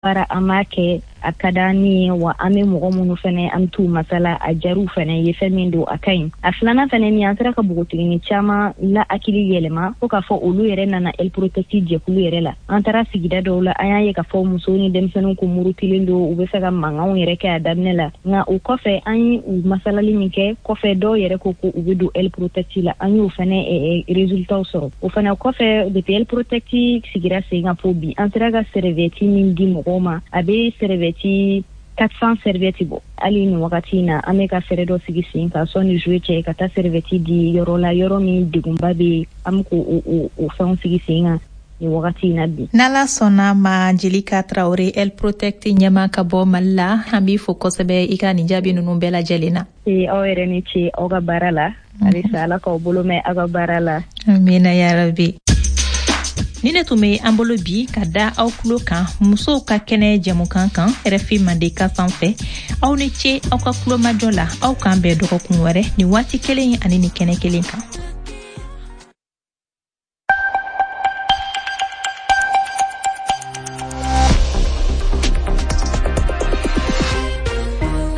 Baara an b'a kɛ, a ka d'an ye wa. An bɛ mɔgɔ minnu fɛnɛ, an bɛ t'u masala, a jar'u fɛnɛ ye. Fɛn min don, a ka ɲi. A filanan fɛnɛ min, an sera ka npogotigini caman la hakili yɛlɛma fo k'a fɔ olu yɛrɛ nana El Protect jɛkulu yɛrɛ la. An taara sigida dɔw la, an y'a ye k'a fɔ musow ni denmisɛnninw kun murutilen don, u bɛ fɛ ka mankanw yɛrɛ kɛ a daminɛ la. Nka o kɔfɛ, an ye u masalali min kɛ kɔfɛ, dɔw yɛrɛ ko ko u bɛ don El Protect la. An y'o fɛnɛ résultat sɔrɔ. O fɛnɛ kɔfɛ, depuis El Protect sigira sen kan fo bi, an sera ka serviette min di mɔgɔw ma, a bɛ serviette 400 serviette bɔ. Hali nin wagati in na, an bɛ ka fɛɛrɛ dɔ sigi sen kan sɔnni juillet cɛ, ka taa serviette di yɔrɔ la, yɔrɔ min degunba bɛ yen. An bɛ k'o o fɛnw sigi sen kan nin wagati in na bi. N'Ala sɔnna ma, Jelika Tarawele, El Protect ɲɛma ka bɔ Mali la, an b'i fo kosɛbɛ i ka nin jaabi ninnu bɛɛ lajɛlen na. Ee, aw yɛrɛ ni ce aw ka baara la. Halisa Ala k'aw bolo mɛn aw ka baara la. Amina yarabi. Ni ne tun bɛ an bolo bi ka da aw tulo kan musow ka kɛnɛ jɛmukan kan RFI Mandenkan sanfɛ. Aw ni ce aw ka tulomajɔ la. Aw k'an bɛn dɔgɔkun wɛrɛ nin waati kelen ani nin kɛnɛ kelen kan.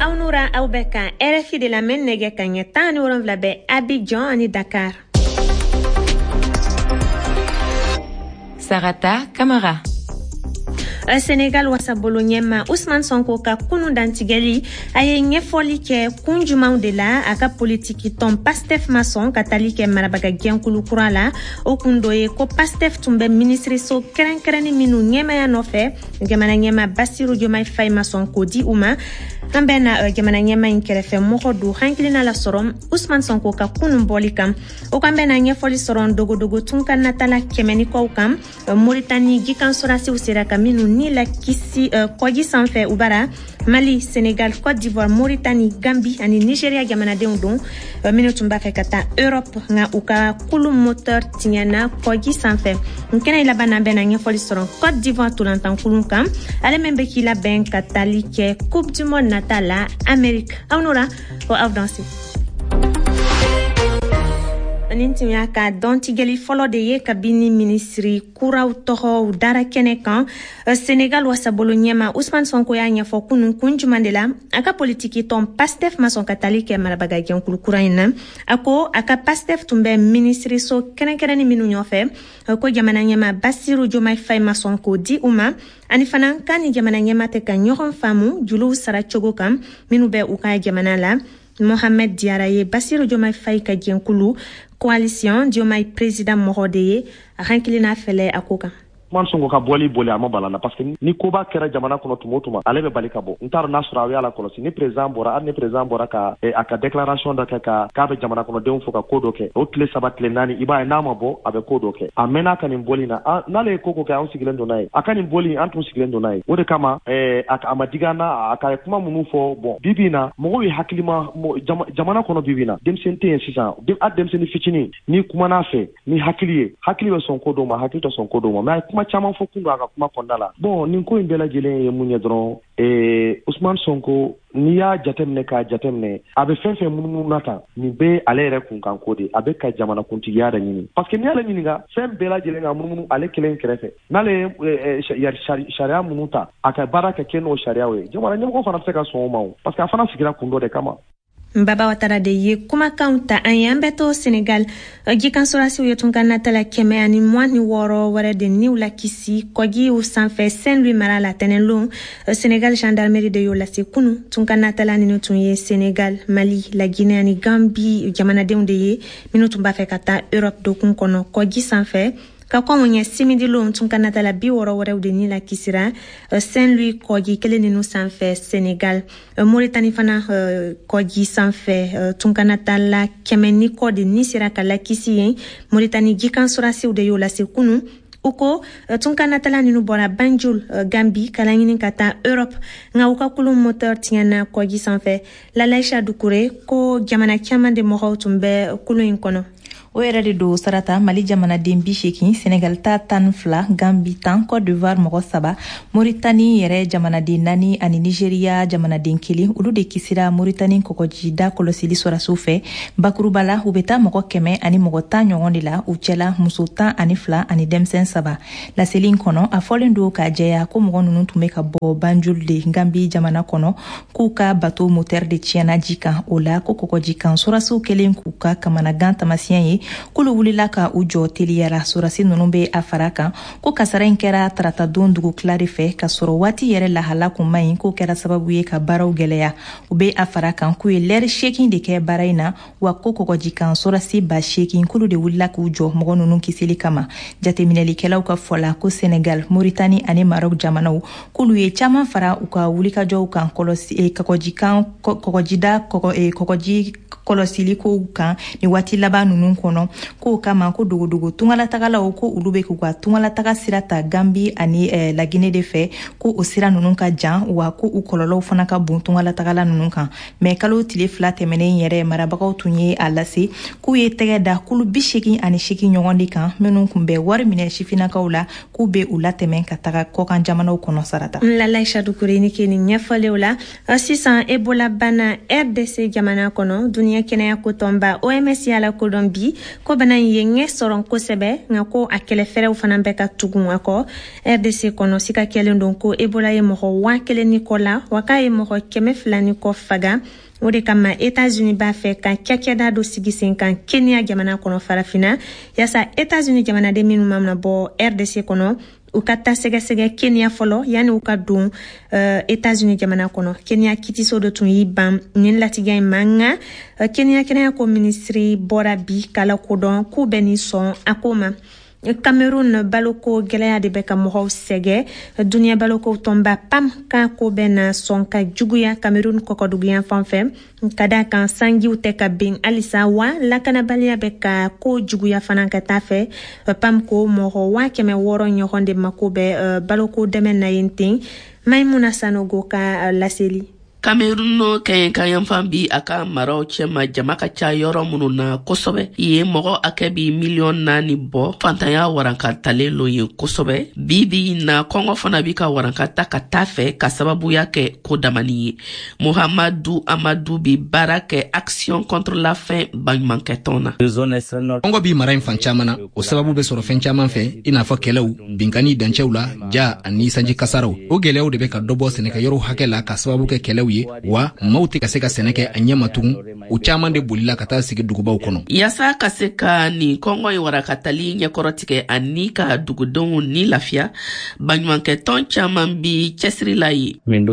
Aw nura, aw bɛ kan RFI de lamɛn. Nɛgɛ ka ɲɛ 17 bɛ Abidjan ani Dakar. Sarata Kamara. Senegal wasabolo ɲɛma Usman Sonko ka kunu dantigɛli, a ye ɲɛfɔli kɛ kun jumanw de la a ka politiki tɔn Pastef ma sɔn ka tali kɛ marabaga jɛnkulu kura la. O kun dɔ ye ko Pastef tun bɛ minisiriso kɛrɛnkɛrɛnni minnu ɲɛmaya nɔfɛ, jamana ɲɛma Basiru Jomai Faye ma sɔn k'o di u ma. An bɛ na jamana ɲɛma in kɛrɛfɛ mɔgɔ don hakilina la sɔrɔ Usman Sonko ka kunun bɔli kan. O kan bɛ na ɲɛfɔli sɔrɔ dogodogo tunkan natala 100 ni kɔw kan, Moritani jikan sɔrasiw sera ka minnu ni la kisi kɔji sanfɛ u bara. Mali, Senegal, Côte d'Ivoire, Moritani, Gambi ani Nigeria jamanadenw don, minnu tun b'a fɛ ka taa Europe, nka u ka kulu moteur tiɲɛna kɔji sanfɛ. N kɛnɛ laban na, bɛna ɲɛfɔli sɔrɔ Côte d'Ivoire tolantankulun kan, ale min bɛ k'i labɛn ka tali kɛ Coupe du monde nata la Amérique. Aw nora ko aw danse. Nin tun y'a ka dɔntigɛli fɔlɔ de ye kabini minisiri kuraw tɔgɔw dara kɛnɛ kan. Senegal wasabolo ɲɛma Usman Sonko y'a ɲɛfɔ kunun kun juman de la a ka politiki tɔn Pastef ma sɔn ka tali kɛ marabaga jɛnkulu kura in na. A ko a ka Pastef tun bɛ minisiriso kɛrɛnkɛrɛnni minnu ɲɔfɛ, ko jamana ɲɛma Basiru Jomai Faye ma sɔn k'o di u ma, ani fana k'a ni jamana ɲɛma tɛ ka ɲɔgɔn faamu juluw sara cogo kan minnu bɛ u ka jamana la. Mohamed Diara ye Basiru Jomai Faye ka jɛnkulu Coalition Diomaye Président mɔgɔ de ye. A hakilina fɛlɛ a ko kan. Ousmane Sonko ka bɔli boli a ma bala la, parce que ni koba kɛra jamana kɔnɔ tuma o tuma, ale bɛ bali ka bɔ. N t'a dɔn n'a sɔrɔ aw y'a la kɔlɔsi, ni président bɔra, hali ni président bɔra ka a ka déclaration dɔ kɛ ka k'a bɛ jamana kɔnɔdenw fo ka ko dɔ kɛ, o tile 3, tile 4, i b'a ye n'a ma bɔ, a bɛ ko dɔ kɛ. A mɛnna ka nin bɔli na, n'ale ye ko ko kɛ, anw sigilen don n'a ye. A ka nin bɔli, an tun sigilen don n'a ye. O de kama a ma digi an na a ka kuma minnu fɔ. Bon, bi bi in na, mɔgɔw ye hakilima jamana kɔnɔ. Bi bi in na, denmisɛnnin tɛ yen sisan, hali denmisɛnnin fitinin, n'i kumana fɛ ni hakili ye, hakili bɛ sɔn ko dɔw ma, hakili tɛ sɔn ko dɔw ma. Mais a ye kuma caman fɔ kun don a ka kuma kɔnɔna la. Bon, nin ko in bɛɛ lajɛlen ye mun ye dɔrɔn, Usman Sonko, n'i y'a jateminɛ k'a jateminɛ, a bɛ fɛn fɛn munumunu na tan, nin bɛ ale yɛrɛ kunkan ko de. A bɛ ka jamana kuntigiya de ɲini, parce que n'i y'ale ɲininka fɛn bɛɛ lajɛlen ka munumunu ale kelen kɛrɛfɛ, n'ale ye sariya minnu ta, a ka baara kɛ kɛ n'o sariyaw ye, jamana ɲɛmɔgɔ fana bɛ se ka sɔn o ma o, parce que a fana sigira kun dɔ de kama. Baba Watara de ye kumakanw ta an ye. An bɛ to Senegal. Jikan sɔrasiw ye tunkan natala 126 wɛrɛ de niw la kisi kɔjiw sanfɛ Saint Louis mara la tɛnɛnlon. Senegal gendarmerie de y'o lase kunu. Tunkan natala ninnu tun ye Senegal, Mali, la Guinée ani Gambi jamanadenw de ye, minnu tun b'a fɛ ka taa Europe dokun kɔnɔ kɔji sanfɛ. Ka kɔn o ɲɛ, simidilon, tunkan natala 60 wɛrɛw de ni la kisira Saint Louis kɔji kelen ninnu sanfɛ Senegal. Moritani fana, kɔji sanfɛ, tunkanatala 100 ni kɔ de ni sera ka lakisi yen. Moritani jikan sɔrasiw de y'o lase kunu. U ko tunkanatala ninnu bɔra Banjul, Gambi, ka laɲini ka taa Europe, nka u ka kulun moteur tiɲɛna kɔji sanfɛ. Lalaisha Dukure ko jamana caman de mɔgɔw tun bɛ kulun in kɔnɔ. O yɛrɛ de don, Sarata. Mali jamanaden 80, Senegal ta 12, Gambi 10, Cote d'Ivoire mɔgɔ saba, Moritani yɛrɛ jamanaden naani ani Nigeriya jamanaden kelen, olu de kisira Moritani kɔgɔjida kɔlɔsili sɔrɔdasiw fɛ. Bakuruba la, u bɛ taa mɔgɔ 110 ɲɔgɔn de la, u cɛla muso 12 ani denmisɛn saba. Laseli in kɔnɔ, a fɔlen don k'a jɛya ko mɔgɔ ninnu tun bɛ ka bɔ Banjul de, Gambi jamana kɔnɔ, k'u ka bato motɛri de tiɲɛna ji kan. O la ko kɔgɔji kan sɔrɔdasiw kɛlen k'u ka kamanagan tamasiyɛn ye, k'olu wulila ka u jɔ teliyara. Sɔrɔdasi ninnu bɛ a fara kan ko kasara in kɛra taratadon dugutila de fɛ, ka sɔrɔ waati yɛrɛ lahala kun man ɲi, k'o kɛra sababu ye ka baaraw gɛlɛya. U bɛ a fara kan k'u ye lɛri 8 de kɛ baara in na, wa ko kɔgɔji kan sɔrɔdasi 8000 k'olu de wulila k'u jɔ mɔgɔ ninnu kisili kama. Jateminɛlikɛlaw ka fɔ la, ko Senegal, Moritani ani Maroc jamanaw, k'olu ye caman fara u ka wulikajɔw kan kɔlɔsi kɔgɔjikan kɔgɔjida kɔgɔji kɔlɔsili kow kan ni waati laban ninnu kɔnɔ. K'o kama ko dogodogo tungalatagalaw, ko olu bɛ k'u ka tungalataga sira ta Gambi ani Lagine de fɛ, ko o sira ninnu ka jan, wa ko u kɔlɔlɔw fana ka bon tungalatagala ninnu kan. Mɛ kalo tile 2 tɛmɛnen yɛrɛ, marabagaw tun ye a lase k'u ye tɛgɛ da kulu 88 ɲɔgɔn de kan, minnu tun bɛ wari minɛ sifinnakaw la, k'u bɛ u latɛmɛ ka taga kɔkan jamanaw kɔnɔ, Sarata. Lalaïcha Doucouré, ni ke nin ɲɛfɔlenw la. Sisan, Ebola bana RDC jamana kɔnɔ, duniɲɛ kɛnɛya ko tɔnba OMS y'a lakodɔn bi ko bana in ye ɲɛ sɔrɔ kosɛbɛ, nka ko a kɛlɛfɛɛrɛw fana bɛ ka tugun a kɔ. RDC kɔnɔ, sika kɛlen don ko Ebola ye mɔgɔ 1000 ni kɔ la, wa k'a ye mɔgɔ 200 ni kɔ faga. O de kama Etats-Unis b'a fɛ ka cakɛda dɔ sigi sen kan Kenya jamana kɔnɔ Farafina, yaasa Etats-Unis jamanaden minnu mana bɔ RDC kɔnɔ, u ka taa sɛgɛsɛgɛ Kenya fɔlɔ yanni u ka don Etats-Unis jamana kɔnɔ. Kenya kitiso dɔ tun y'i ban nin latigɛ in ma, nka Kenya kɛnɛya ko minisiri bɔra bi k'a lakodɔn k'u bɛ nin sɔn a ko ma. Cameroun, baloko gɛlɛya de bɛ ka mɔgɔw sɛgɛ. Duniɲɛ baloko tɔnba PAM ka ko bɛ na sɔn ka juguya Cameroun kɔkɔduguyan fan fɛ, ka da kan sanjiw tɛ ka ben halisa, wa lakanabaliya bɛ ka ko juguya fana ka taa fɛ. PAM ko mɔgɔ 600,000 ɲɔgɔn de mako bɛ baloko dɛmɛ na yen ten. Maimuna Sanogo ka laseli. Kamerun kɛɲɛka yanfan bi a ka maraw cɛma, jama ka ca yɔrɔ minnu na kosɛbɛ. Yen mɔgɔ hakɛ bi miliyɔn 4 bɔ. Fantanya waranka talen lo yen kosɛbɛ bi bi na. Kɔngɔ fana bi ka waranka ta ka taa fɛ ka sababuya kɛ ko damani ye. Muhamadu Amadu bi baara kɛ Action contre la faim baɲumankɛtɔn na. Kɔngɔ bi mara in fan caman na. O sababu bɛ sɔrɔ fɛn caman fɛ, i n'a fɔ kɛlɛw, binkani dancɛw la, ja ani sanji kasaraw. O gwɛlɛyaw de bɛ ka dɔ bɔ sɛnɛkɛyɔrɔw hakɛ la ka sababu kɛ kɛlɛw ye, wa maaw tɛ ka se ka sɛnɛ kɛ a ɲɛ ma tugun. U caaman de bolila ka taa sigi dugubaw kɔnɔ. Yaasa ka se ka nin kɔngɔ in warakatali ɲɛkɔrɔ tigɛ ani ka dugudenw ni lafiya, baɲumankɛtɔn caaman bi cɛsiri la ye. An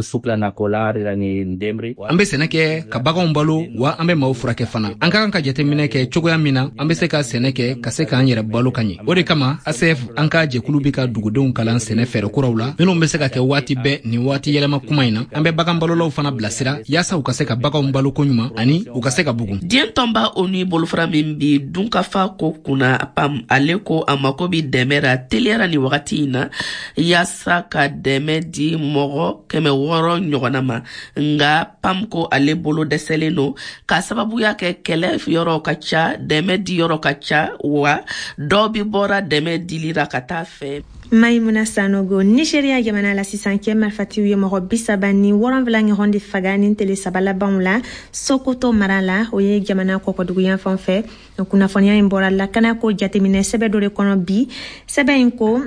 bɛ sɛnɛ kɛ ka baganw balo, wa an bɛ maaw furakɛ fana. An ka kan ka jateminɛ kɛ cogoya min na an bɛ se ka sɛnɛ kɛ ka se k'an yɛrɛ balo ka ɲɛ. O de kama ACF, an ka jɛkulu, bɛ ka dugudenw kalan sɛnɛ fɛɛrɛ kuraw la minnu bɛ se ka kɛ waati bɛɛ nin waati yɛlɛma kuma in na. An bɛ bagan balolaw fana bilasira yaasa u ka se ka baganw balo koɲuman ani u ka se ka bugun. Diɲɛ tɔnba ONU bolofara min bi dunkafa ko kunna, PAM, ale ko a mako bi dɛmɛ ra teliyara nin wagati in na, yaasa ka dɛmɛ di mɔgɔ 600 ɲɔgɔnna ma. Nga PAM ko ale bolo dɛsɛlen don k'a sababuya kɛ kɛlɛ yɔrɔ ka ca, dɛmɛ di yɔrɔ ka ca, wa dɔw bi bɔra dɛmɛ dilira ka taa fɛ. Maimuna Sanogo. Nigeria jamana la sisan, kɛ marifatiw ye mɔgɔ 37 ɲɔgɔn de faga ni tele 3 labanw la Sokoto mara la, o ye jamana kɔkɔduguyan fan fɛ. Kunnafoniya in bɔra lakana ko jateminɛ sɛbɛ dɔ de kɔnɔ bi. Sɛbɛn in ko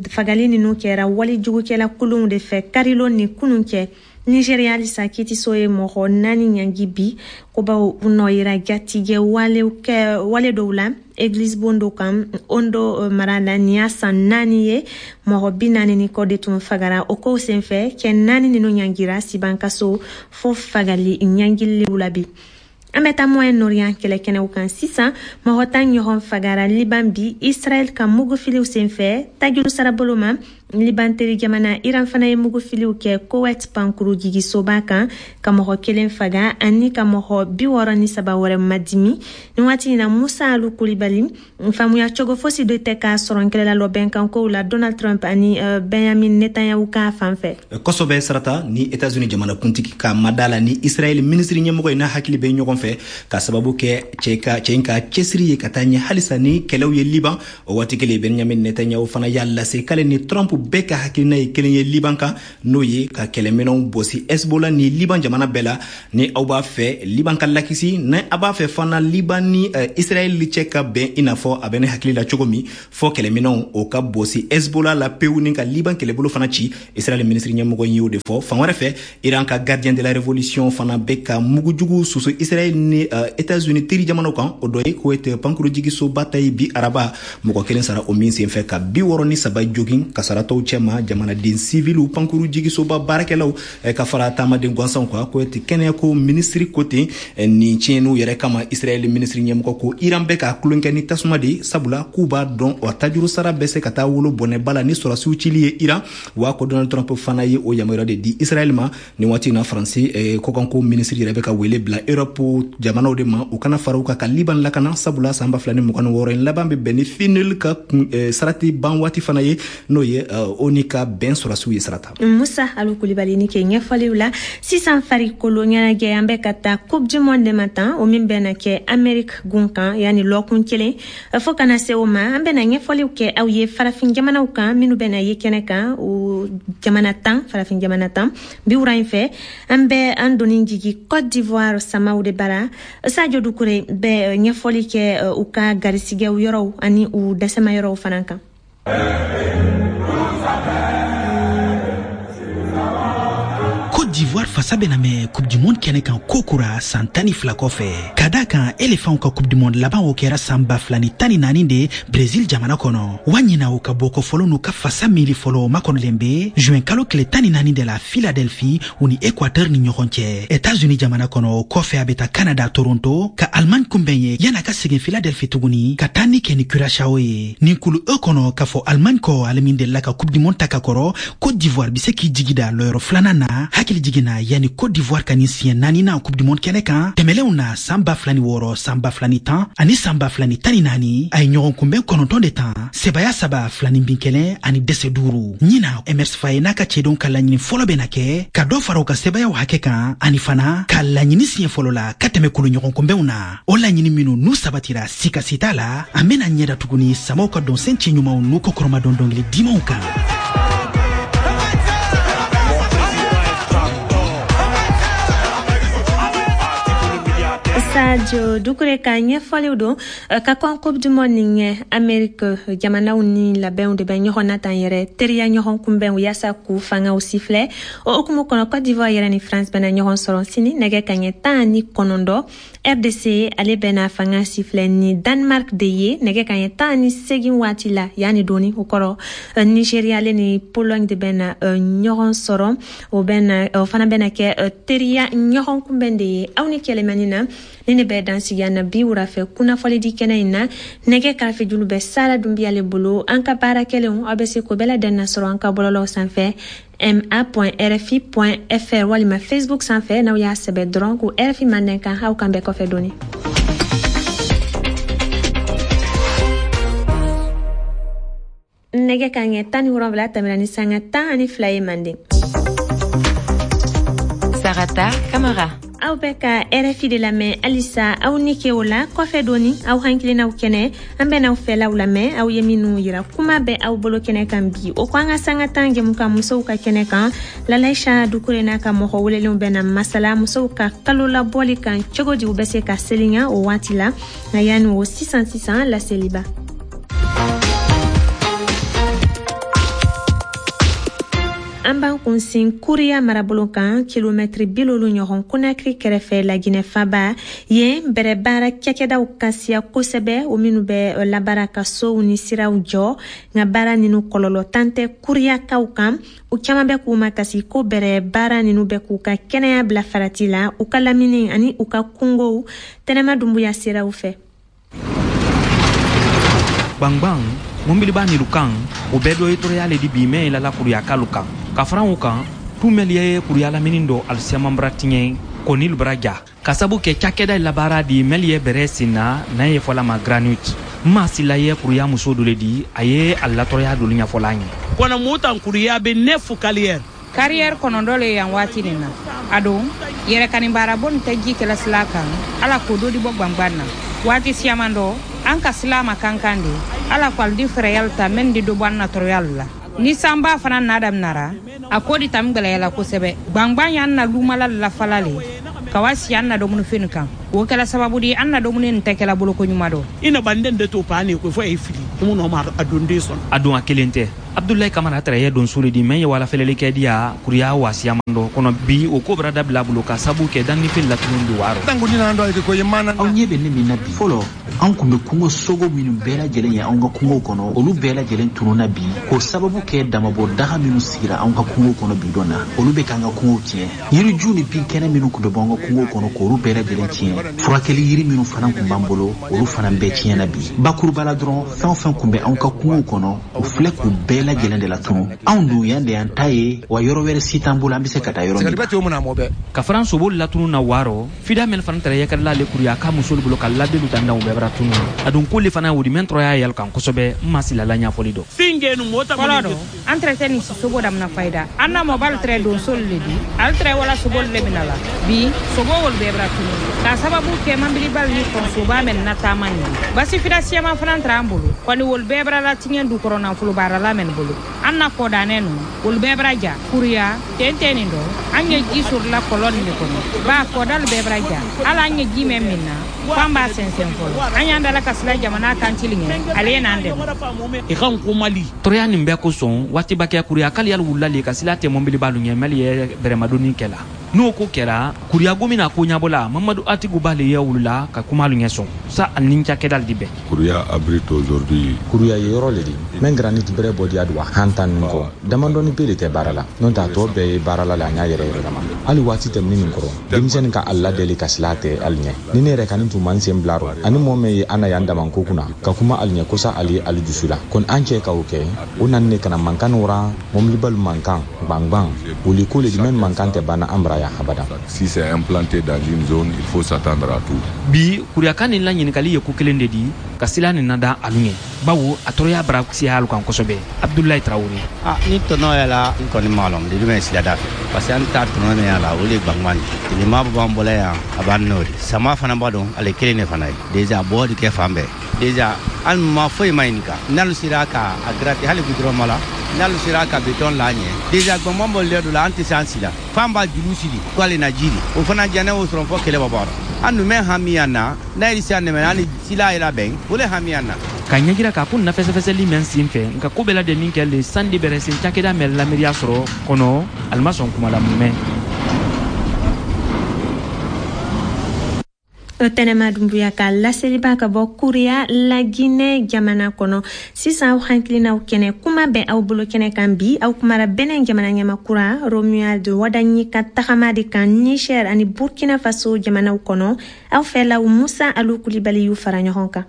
fagali ninnu kɛra walijugukɛla kulunw de fɛ karilon ni kunun cɛ. Nigeria halisa, kitiso ye mɔgɔ naani ɲangi bi, ko baw u nɔ yira jatigɛ wale dɔw la église bon dɔ kan Ondo mara la. Nin y'a san 4 ye, mɔgɔ 40 ni kɔ de tun fagara o kow senfɛ. Cɛ naani ninnu ɲangira sibankaso fo fagali ɲangiliw la bi. An bɛ taa Moyen Orient kɛlɛkɛnɛw kan sisan. Mɔgɔ 10 ɲɔgɔn fagara Liban bi, Israɛl ka mugufiliw senfɛ tajuru sarabolo ma. Liban teri jamana Iran fana ye mugufiliw kɛ Kowet pankuru jigisoba kan, ka mɔgɔ kelen faga ani ka mɔgɔ 63 wɛrɛ madimi nin waati in na. Musa Alu Kulibali, faamuya cogo fosi de tɛ k'a sɔrɔ kɛlɛla lɔbɛnkankow la Donald Trump ani Benjamin Netanyahu ka fan fɛ. Kosɛbɛ, Sarata. Ni Etats-Unis jamanakuntigi ka mada la ni Israɛl minisiri ɲɛmɔgɔ ye, n'a hakili bɛ ɲɔgɔn fɛ, ka sababu kɛ cɛ ka cɛ in ka cɛsiri ye ka taa ɲɛ halisa ni kɛlɛw ye Liban. O waati kelen, Benjamin Netanyahu fana y'a lase k'ale ni Trump bɛɛ ka hakilina ye kelen ye Liban kan, n'o ye ka kɛlɛminɛw bɔsi Hezbollah ni Liban jamana bɛɛ la. Ni aw b'a fɛ Liban ka lakisi, ni a b'a fɛ fana Liban ni Israɛl cɛ ka bɛn i n'a fɔ a bɛ ne hakili la cogo min, fɔ kɛlɛminɛw o ka bɔsi Hezbollah la pewu, ni ka Liban kɛlɛbolo fana ci. Israɛl minisiri ɲɛmɔgɔ y'o de fɔ. Fan wɛrɛ fɛ, Iran ka Gardien de la Révolution fana bɛ ka mugujugu susu Israɛl ni États-Unis teri jamanaw kan. O dɔ ye Kuwait pankurujigisoba ta ye bi araba, mɔgɔ kelen sara o min senfɛ, ka 63 jogin. Kasaratɔw cɛma, jamanaden siviliw, pankurujigisoba baarakɛlaw, ka fara taamaden gansanw kan. Kuwait kɛnɛyako minisiri ko ten, nin tiɲɛniw yɛrɛ kama, Israɛl minisiri ɲɛmɔgɔ ko Iran bɛ ka tulonkɛ ni tasuma de, sabula k'u b'a dɔn o tajuru sara bɛ se ka taa wolo bɔnɛba la ni sɔrɔsiw cili ye Iran. Wa ko Donald Trump fana ye o yamaruya de di Israɛl ma. Nin waati na, Faransi kɔkanko minisiri yɛrɛ bɛ ka wele bila Europe jamanaw de ma, u kana fara u kan ka Liban lakana, sabula san 2026 in laban bɛ bɛn ni FINUL ka sarati ban waati fana ye, n'o ye ONU ka bɛn sɔrɔsiw ye, Sarata. Musa Alu Kulibali, ni ke ɲɛfɔliw la. Sisan, farikolo ɲɛnajɛ, an bɛ ka taa Coupe du monde de ma tan, o min bɛna kɛ Amérique gun kan yanni lɔkun kelen. Fo kana se o ma, an bɛna ɲɛfɔliw kɛ aw ye farafin jamanaw kan minnu bɛna ye kɛnɛ kan, o jamana 10, farafin jamana 10. Bi wura in fɛ, an bɛ an doni jigi Côte d'Ivoire samaw de bara. Sadio Dukure bɛ ɲɛfɔli kɛ u ka garisigɛw yɔrɔw ani u dɛsɛma yɔrɔw fana kan. Côte d'Ivoire fasa bɛna mɛn Coupe du monde kɛnɛ kan kokura san 12 kɔfɛ, ka da kan Elefanw ka Coupe du monde laban, o kɛra san 2014 de Brésil jamana kɔnɔ. Wa ɲina, o ka bɔkɔ fɔlɔ n'u ka fasa miiri fɔlɔ makɔnɔlen be juin kalo tile 14 de la Philadelphie, u ni Équateur ni ɲɔgɔn cɛ, États-Unis jamana kɔnɔ. O kɔfɛ, a bɛ taa Canada, Toronto, ka Allemagne kunbɛn ye, yan'a ka segin Philadelphie tuguni ka taa ni kɛ ni Curaçao ye. Nin kulu E kɔnɔ, k'a fɔ Allemagne kɔ, ale min delila ka Coupe du monde ta ka kɔrɔ, Côte d'Ivoire be se k'i jigi da lɔyɔrɔ filanan na. Hakili jiginna, yanni Côte d'Ivoire ka nin siɲɛ naaninan Coupe du monde kɛnɛ kan, tɛmɛlenw na, san 2006, san 2010 ani san 2014, a ye ɲɔgɔn kunbɛn 9 de tan, sebaya saba, filanin bin kelen ani dɛsɛ duuru. Ɲina, Emerse Faé n'a ka cɛdenw ka laɲini fɔlɔ bɛna kɛ ka dɔ fara u ka sebayaw hakɛ kan, ani fana ka laɲini siɲɛ fɔlɔ la ka tɛmɛ kulu ɲɔgɔn kunbɛnw na. O laɲini minnu n'u sabatira, sikasi t'a la, an bena ɲɛda tuguni samaw ka dɔnsen cɛ ɲumanw n'u kɔkɔrɔmadɔn dɔngili dimanw kan. Sadio Dukure ka ɲɛfɔliw don. Ka kɔn Coupe du monde nin ɲɛ, Amérique jamanaw ni labɛnw de bɛ ɲɔgɔn na tan yɛrɛ, teriya ɲɔgɔn kunbɛnw yaasa k'u fangaw sifilɛ. O hukumu kɔnɔ, Côte d'Ivoire yɛrɛ ni France bɛna ɲɔgɔn sɔrɔ sini nɛgɛ kaɲɛ 19. RDC ale bɛna fanga sifilɛ ni Danemark de ye nɛgɛ kaɲɛ 18 waati la yanni doni. O kɔrɔ, Nigeria ale ni Pologne de bɛna ɲɔgɔn sɔrɔ, o bɛna o fana bɛna kɛ teriya ɲɔgɔn kunbɛn de ye. Aw ni kɛlɛmani na ni ne bɛ dansigi na bi wura fɛ kunnafɔlidi kɛnɛ in na. Nɛgɛ karafejulu bɛ Sara Dunbiyale bolo. An ka baara kɛlenw, aw bɛ se k'o bɛɛ ladɛn sɔrɔ an ka bɔlɔlɔw sanfɛ, ma.rfi.fr walima Facebook sanfɛ, n'aw y'a sɛbɛ dɔrɔn ko RFI Mandɛn kan. Aw kan bɛɛ kɔfɛ dɔɔni. Nɛgɛ ka ɲɛ 17 tɛmɛna ni sanga 12 ye Manden. Sarata Kamara. Aw bɛ ka RFI de lamɛn halisa. Aw ni ke o la kɔfɛ dɔɔni, aw hakilinaw kɛnɛ, an bɛn'aw fɛlaw lamɛn, aw ye minnu yira kuma bɛ aw bolo kɛnɛ kan bi. O ko an ka sanga 10 jɛmukan musow ka kɛnɛ kan, Lalaisa Dukure n'a ka mɔgɔ welelenw bɛna masala musow ka kalo labɔli kan, cogo di u bɛ se ka selinya o waati la. Nka yanni o, sisan sisan, laseliba. An b'an kunsin Kuriya marabolo kan, kilomɛtiri 70 ɲɔgɔn Konakiri kɛrɛfɛ, Laginɛ faba. Yen bɛrɛ baara cakɛdaw ka siya kosɛbɛ, o minnu bɛ labaara ka sow ni siraw jɔ. Nka baara ninu kɔlɔlɔ tan tɛ Kuriyakaw kan. U caman bɛ k'u makasi ko bɛrɛ baara ninu bɛ k'u ka kɛnɛya bila farati la, u ka lamini ani u ka kungow. Tɛnɛma Dunbuya siraw fɛ. Gbangban mɔbiliba nilu kan o bɛɛ dɔ ye tɔɔrɔya le di bi mɛn lala kuruyakalu kan. Ka fara o kan, tu mɛli ye kuruya lamini dɔ alisiyaman bara tiɲɛ kɔnilu bara ja ka sabu kɛ cakɛda labaara di mɛli ye bɛrɛ sen na n'a ye fɔla ma granute. Ma sila ye kuruya muso dɔ le di, a ye a latɔrɔya dolu ɲɛfɔla an ye. Kɔnɔ mutan kuruya bɛ neuf carrières. Carrière kɔnɔntɔn le yan waati nin na. A don yɛrɛkani baarabo nin tɛ ji kɛla sila kan, ala k'o dɔ di bɔ gwangwan na. Waati siyaman dɔ an ka sila ma kankan de, ala ko alu di fɛɛrɛyalu ta mɛn di dɔ bɔ an na tɔɔrɔyalu la. Ni sanba fana na daminara, a ko di tam gwɛlɛyala kosɛbɛ. Gwangwan y'an na lumala lafala le ka wa si an na dumunifɛn kan. O kɛla sababu di an na dumuni nin tɛ kɛla boloko ɲuman dɔ. I na banden de to pa ne ko fo e fili mun ma a don den sɔn. A don a kelen tɛ. Abdoulaye Kamara tɛrɛ ye donso le di mɛn ye wala fɛlɛli kɛ diya kuruya wasiyaman dɔ kɔnɔ bi, o ko bara dabila bolo ka sabu kɛ dannifɛn latunu di waro. Aw ɲɛ bɛ ne min na bi, fɔlɔ an kun bɛ kungo sogo minnu bɛɛ lajɛlen ye anw ka kungo kɔnɔ, olu bɛɛ lajɛlen tununna bi k'o sababu kɛ damabɔ daga minnu sigira anw ka kungo kɔnɔ bi dɔn na, olu bɛ k'an ka kungow tiɲɛ. Yiriju ni binkɛnɛ minnu kun bɛ bɔ an ka kungo kɔnɔ k'olu bɛɛ lajɛlen tiɲɛ. Furakɛli yiri minnu fana kun b'an bolo, olu fana bɛɛ tiɲɛna bi. Bakuruba la dɔrɔn, fɛn o fɛn kun bɛ anw ka kungo kɔnɔ, u filɛ k'u bɛɛ lajɛlen de latunu. Anw dun yan de y'an ta ye, wa yɔrɔ wɛrɛ si t'an bolo an bɛ se ka taa yɔrɔ min. Ka faran sobolu latunu na waarɔ fida mɛn fana tɛrɛ yɛkɛrɛla ale kuruya ka musolu bolo ka ladelu dandanw bɛɛ bara tunu. A dun k'olu fana wodi mɛn tɔrɔya yɛlɛ kan kosɛbɛ n ma silala ɲɛfɔli dɔ. Fɔlɔ dɔ an tɛrɛ tɛ nin sobo damina fayida. An na mɔbali tɛrɛ donsolu le di, ale tɛrɛ wala sobolu le mina la. Bi sobo wolu bɛɛ bara tunu k'a sababu kɛ manbilibali ni kɔnsoba mɛn na taama nin ye. Basi fida siyaman fana tɛrɛ an bolo kɔni wolu bɛɛ bara latiɲɛ du kɔrɔ nafolo baarala mɛn bolo. An na kɔdanɛ nu wolu bɛɛ bara ja kuruya tɛntɛn nin dɔ an ye ji sɔrɔla kɔlɔn nin de kɔnɔ ba kɔdalu bɛɛ bara ja hali an ye ji mɛn min na f'an b'a sɛnsɛn fɔlɔ. An y'an dala ka sila jamana kan cili ɲɛ, ale ye n'an dɛmɛ. I kan ko Mali. Tɔɔrɔya nin bɛɛ kosɔn waatiba kɛ kuruya k'ale yali wulila le ka sila tɛ mɔbilibalu ɲɛ mɛli ye bɛrɛmadonni kɛ la. N'o ko kɛra kuruya gomi na ko ɲabɔla Mamadu Atiku b'ale ye wulila ka kumalu ɲɛ sɔn sa ani cakɛdali di bɛn. Kuruya abrite aujourd'hui. Kuruya ye yɔrɔ le di mɛn granit bɛrɛ bɔ diya don a han tan nin kɔ damadɔni pe de tɛ baara la, n'o tɛ a tɔ bɛɛ ye baara la le a ɲa yɛrɛ yɛrɛ lama. Hali waati tɛmɛni nin kɔrɔ denmisɛnnin ka a ladɛli ka sila tɛ hali ɲɛ. Ni ne yɛrɛ kani tun man sen bila rɔ ani mɔɔ mɛn ye an na yan damanko kunna ka kuma hali ɲɛ kosa hali ye hali dusu la kɔni an cɛ ka o kɛ o nani ne kana mankan wara mɔbilibalu mankan gbangban wuli ko le di mɛn mankan tɛ banna an bara yan abada. Si c'est implanté dans une zone, il faut s'attendre à tout. Bi kuruyaka nin la ɲininkali ye ko kelen de di ka sila nin nada alu ɲɛ bawo a tɔɔrɔya bara siya alu kan kosɛbɛ. Abdoulaye Traoré. Ni tɔnɔ yɛlɛ n kɔni m'a lɔn de bɛ sila da fɛ parce que an ta tɔnɔ min y'a la o de gbangban de tilema b'an bolo yan a b'an n'o de sama fana b'a dɔn ale kelen de fana ye déjà bɔ de kɛ fan bɛɛ déjà an ma foyi ma ɲininka n'alu sera ka a gratter hali goudron ma la n'alu sera ka béton la ɲɛ déjà gbangban bɔlen dɔ la an tɛ se an si la fan b'a juru siri k'ale na ji de o fana diya ne y'o sɔrɔ fɔ kɛlɛ bɔ bɔ an dun bɛ hami yan na n'a yɛrɛ se an dɛmɛ an ni sila yɛrɛ bɛn o le hami yan na. Ka ɲɛjira k'a ko na fɛsɛfɛsɛli mɛn sen fɛ nka ko bɛɛ lajɛlen kɛ le sandi bɛrɛ sen cakɛda mɛn lamiriya sɔrɔ kɔnɔ ali ma sɔn kuma la mumɛ. Tɛnɛma Dumbuya ka laseliba ka bɔ Kuriya Laginɛ jamana kɔnɔ. Sisan aw hakilinaw kɛnɛ kuma bɛ aw bolo kɛnɛ kan bi. Aw kumara Benin jamana ɲɛma kura Romuald Wadagni ka tagama de kan Niger ani Burkina Faso jamanaw kɔnɔ. Aw fɛlaw Musa Alu Kulibali y'u fara ɲɔgɔn kan.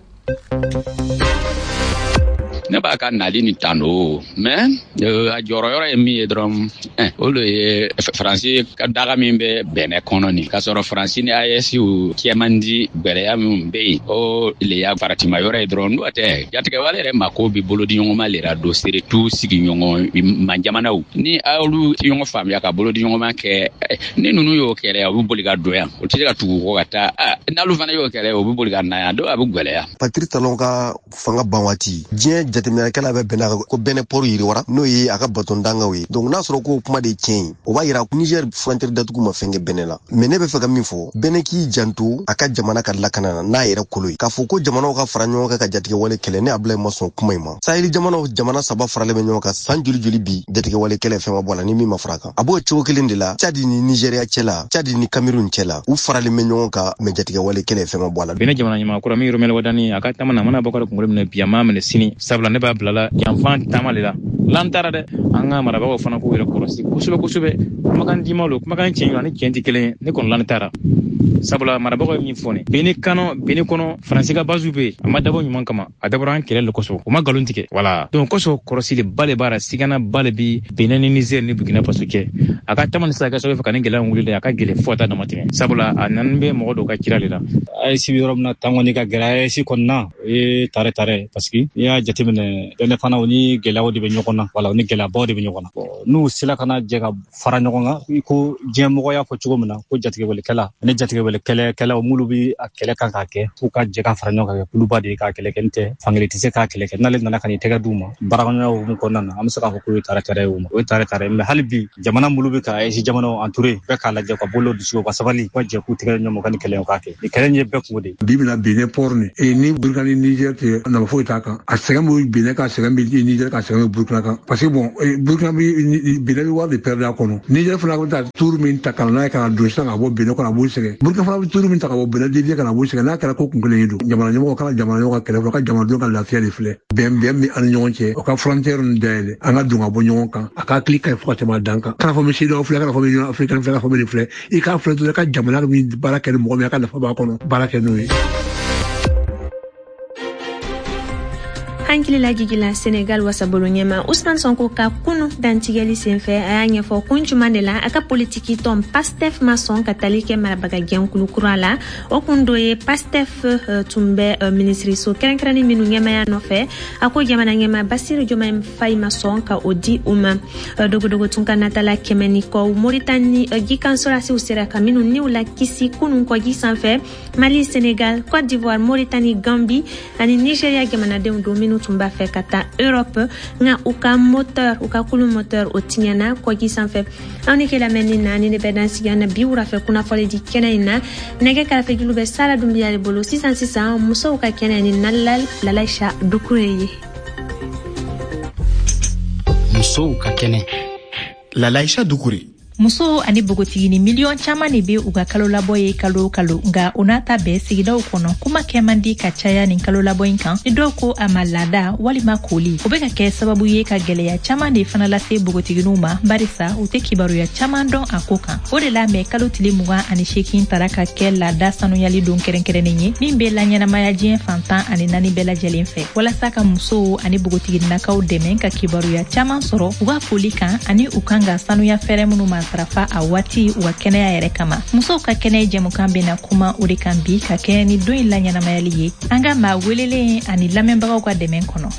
Ne b'a ka nali ni tan o mais a jɔyɔrɔ ye min ye dɔrɔn o de ye Faransi ka daga min bɛ Bɛnɛ kɔnɔ nin k'a sɔrɔ Faransi ni AES cɛ man di gwɛlɛya min bɛ yen o le y'a faratima yɔrɔ ye dɔrɔn. N'o tɛ jatigɛwale yɛrɛ mako bɛ bolodiɲɔgɔnma le la don surtout sigiɲɔgɔn majamanaw ni olu tɛ ɲɔgɔn faamuya ka bolodiɲɔgɔnma kɛ ni ninnu y'o kɛlɛ u bɛ boli ka don yan o tɛ se ka tugu kɔ ka taa n'olu fana y'o kɛlɛ u bɛ boli ka na yan dɔw a bɛ gwɛlɛya. Patrice Talon ka fanga ban waati diɲɛ jateminɛkɛla bɛ bɛnna ko Bɛnɛ port yiriwara n'o ye a ka baton dangaw ye. Donc n'a sɔrɔ k'o kuma de ye tiɲɛ ye, o b'a yira Niger frontière datugu ma fɛn kɛ Bɛnɛ la. Mais ne bɛ fɛ ka min fɔ, Bɛnɛ k'i janto a ka jamana ka lakana na n'a yɛrɛ kolo ye. K'a fɔ ko jamanaw ka fara ɲɔgɔn kan ka jatigɛwale kɛlɛ, ne Abulaye ma sɔn kuma in ma. Sahel jamanaw jamana 3 faralen bɛ ɲɔgɔn kan san joli joli bi jatigɛwale kɛlɛ fɛn ma bɔ a la ni min ma fara kan. A b'o cogo kelen de la Tchad ni Nigeria cɛ la, Tchad ni Cameroun cɛ la, u faralen bɛ ɲɔgɔn kan mais jatigɛwale kɛlɛ fɛn ma bɔ a la. Bɛnɛ jamana ɲɛmaa kura min Romuald Wadagni a ka taama na a mana bɔ ka kunkolo minɛ bi a m'a minɛ sini sabula ne b'a bilala janfan taama le la. L'an taara dɛ, an ka marabagaw fana k'u yɛrɛ kɔlɔsi kosɛbɛ kosɛbɛ. Kumakan dima lo, kumakan tiɲɛ ani tiɲɛ tɛ kelen ye. Ne kɔni l'an taara, sabula marabagaw ye min fɔ ne Benin kɔnɔ, Benin kɔnɔ Faransi ka base bɛ yen, a ma dabɔ ɲuman kama, a dabɔra an kɛlɛ le kosɔn, u ma nkalon tigɛ. Wala donc kosɔn kɔlɔsili ba le b'a la, sigana ba le bi Benin ni Niger ni Burkina Faso cɛ. A ka taama ni sisan kɛ sababu fɛ ka ni gɛlɛya wuli dɛ, a ka gɛlɛn fo ka taa dama tɛmɛ, sabula a nani bɛ mɔgɔ dɔw ka cira le la. AES bɛ yɔrɔ min na tan kɔni ka gɛlɛn AES kɔnɔna, o ye tare tare, parce que n'i y'a jateminɛ Benin fana, o ni gɛlɛyaw de bɛ ɲɔgɔn na, wala o ni gɛlɛyabaw de bɛ ɲɔgɔn na. N'u sera ka na jɛ ka fara ɲɔgɔn kan, i ko diɲɛmɔgɔ y'a fɔ cogo min na ko jatigɛwalekɛla ani jatigɛwalekɛlɛkɛlaw minnu bɛ a kɛlɛ kan k'a kɛ, f'u ka jɛ ka fara ɲɔgɔn kan kɛ kuluba de ye k'a kɛlɛ kɛ. N tɛ fankelen tɛ se k'a kɛlɛ kɛ. N'ale nana ka n'i tɛgɛ d'u ma baarakɛɲɔgɔnya hukumu kɔnɔna na, an bɛ se k'a fɔ k'o ye tare tare ye, o ma o ye tare tare. Mais hali bi jamana minnu bɛ ka AES jamanaw entouré, bɛɛ k'a lajɛ ka bolo dusu ka sabali, u ka jɛ k'u tɛgɛ ɲɔgɔn ma ka nin kɛlɛ in k'a kɛ. Nin kɛlɛ in ye bɛɛ kungo de ye. Bi bɛna Benin port ni ni Burkina ni Niger tɛ nafa foyi t'a kan. A sɛgɛn bɛ Benin kan, sɛgɛn bɛ Niger kan, sɛgɛn bɛ Burkina kan, parce que bon, Burkina bɛ Benin bɛ wari de perdre a kɔnɔ. Niger fana bɛ taa tour min ta ka na n'a ye ka na don sisan ka bɔ Benin kɔnɔ, a b'o sɛgɛn. Burkina fana bɛ tour min ta ka bɔ Benin dévier ka na b'o sɛgɛn. N'a kɛra ko kun kelen ye don, jamana ɲɛmɔgɔ kana jamana ɲɛmɔgɔ ka kɛlɛ fɔlɔ, ka jamanadenw ka lafiya de filɛ. Bɛn bɛn bɛ an ni ɲɔgɔn cɛ, o ka frontière ninnu dayɛlɛ, an ka don ka bɔ ɲɔgɔn kan, a ka hakili ka ɲi fo ka tɛmɛ a dan kan. Kana fɔ bɛ CEDEAO filɛ, kana fɔ bɛ Union africaine filɛ, kana fɔ bɛ nin filɛ. I k'a filɛ dɔrɔn, i ka jamana min baara kɛ ni mɔgɔ min, a ka nafa b'a kɔnɔ, baara kɛ n'o ye. Hankili lajigila Senegal wasabolo ɲɛma Ousmane Sonko ka kunu dantigɛli senfɛ, a y'a ɲɛfɔ kun juman de la a ka politiki tɔn PASTEF ma sɔn ka tali kɛ marabaga jɛnkulu kura la. O kun dɔ ye PASTEF tun bɛ minisiriso kɛrɛnkɛrɛnnin minnu ɲɛmaya nɔfɛ, a ko jamana ɲɛma Bassirou Diomaye Faye ma sɔn ka o di u ma. Dogodogo tun ka natala 100 ni kɔ Moritani jikan sɔrasiw sera ka minnu niw la kisi kunun kɔji sanfɛ. Mali, Senegal, Côte d'Ivoire, Mauritanie, Gambie ani Nigeria jamanadenw don minnu tun b'a fɛ ka taa Europe, nka u ka moteur, u ka kulu moteur o tiɲɛna kɔji sanfɛ. Aw ni ke lamɛnni na ni ne bɛ dan sigi an na bi wurafɛ kunnafɔli di kɛnɛ in na. Nɛgɛ karafejulu bɛ Sara Dunbiya de bolo. Sisan sisan musow ka kɛnɛ ni Lalaïcha Doucouré ye. Musow ka kɛnɛ, Lalaïcha Doucouré. Musow ani bogotigini miliyɔn caman de be u ka kalolabɔ ye kalo o kalo, nka o n'a ta bɛɛ sigidaw kɔnɔ kuma kɛ man di ka caya nin kalolabɔ in kan. Ni dɔw ko a ma laada walima koli, o be ka kɛ sababu ye ka gwɛlɛya caman de fana lase bogotiginiw ma, barisa u tɛ kibaruya caman dɔn a ko kan. O de la mɛ kalo tile 28 tara ka kɛ laada sanuyali don kɛrɛnkɛrɛnnen ye min be laɲɛnamaya diɲɛ fan 14 bɛɛ lajɛlen fɛ, walasa ka musow ani bogotigininakaw dɛmɛ ka kibaruya caman sɔrɔ u ka koli kan ani u kan ka sanuya fɛɛrɛ minnu ma matarafa a waati u ka kɛnɛya yɛrɛ kama. Musow ka kɛnɛ jɛmukan bena kuma o de kan bi ka kɛɲɛ ni don in laɲɛnamayali ye, an ka maa welelen ani lamɛnbagaw ka dɛmɛ kɔnɔ.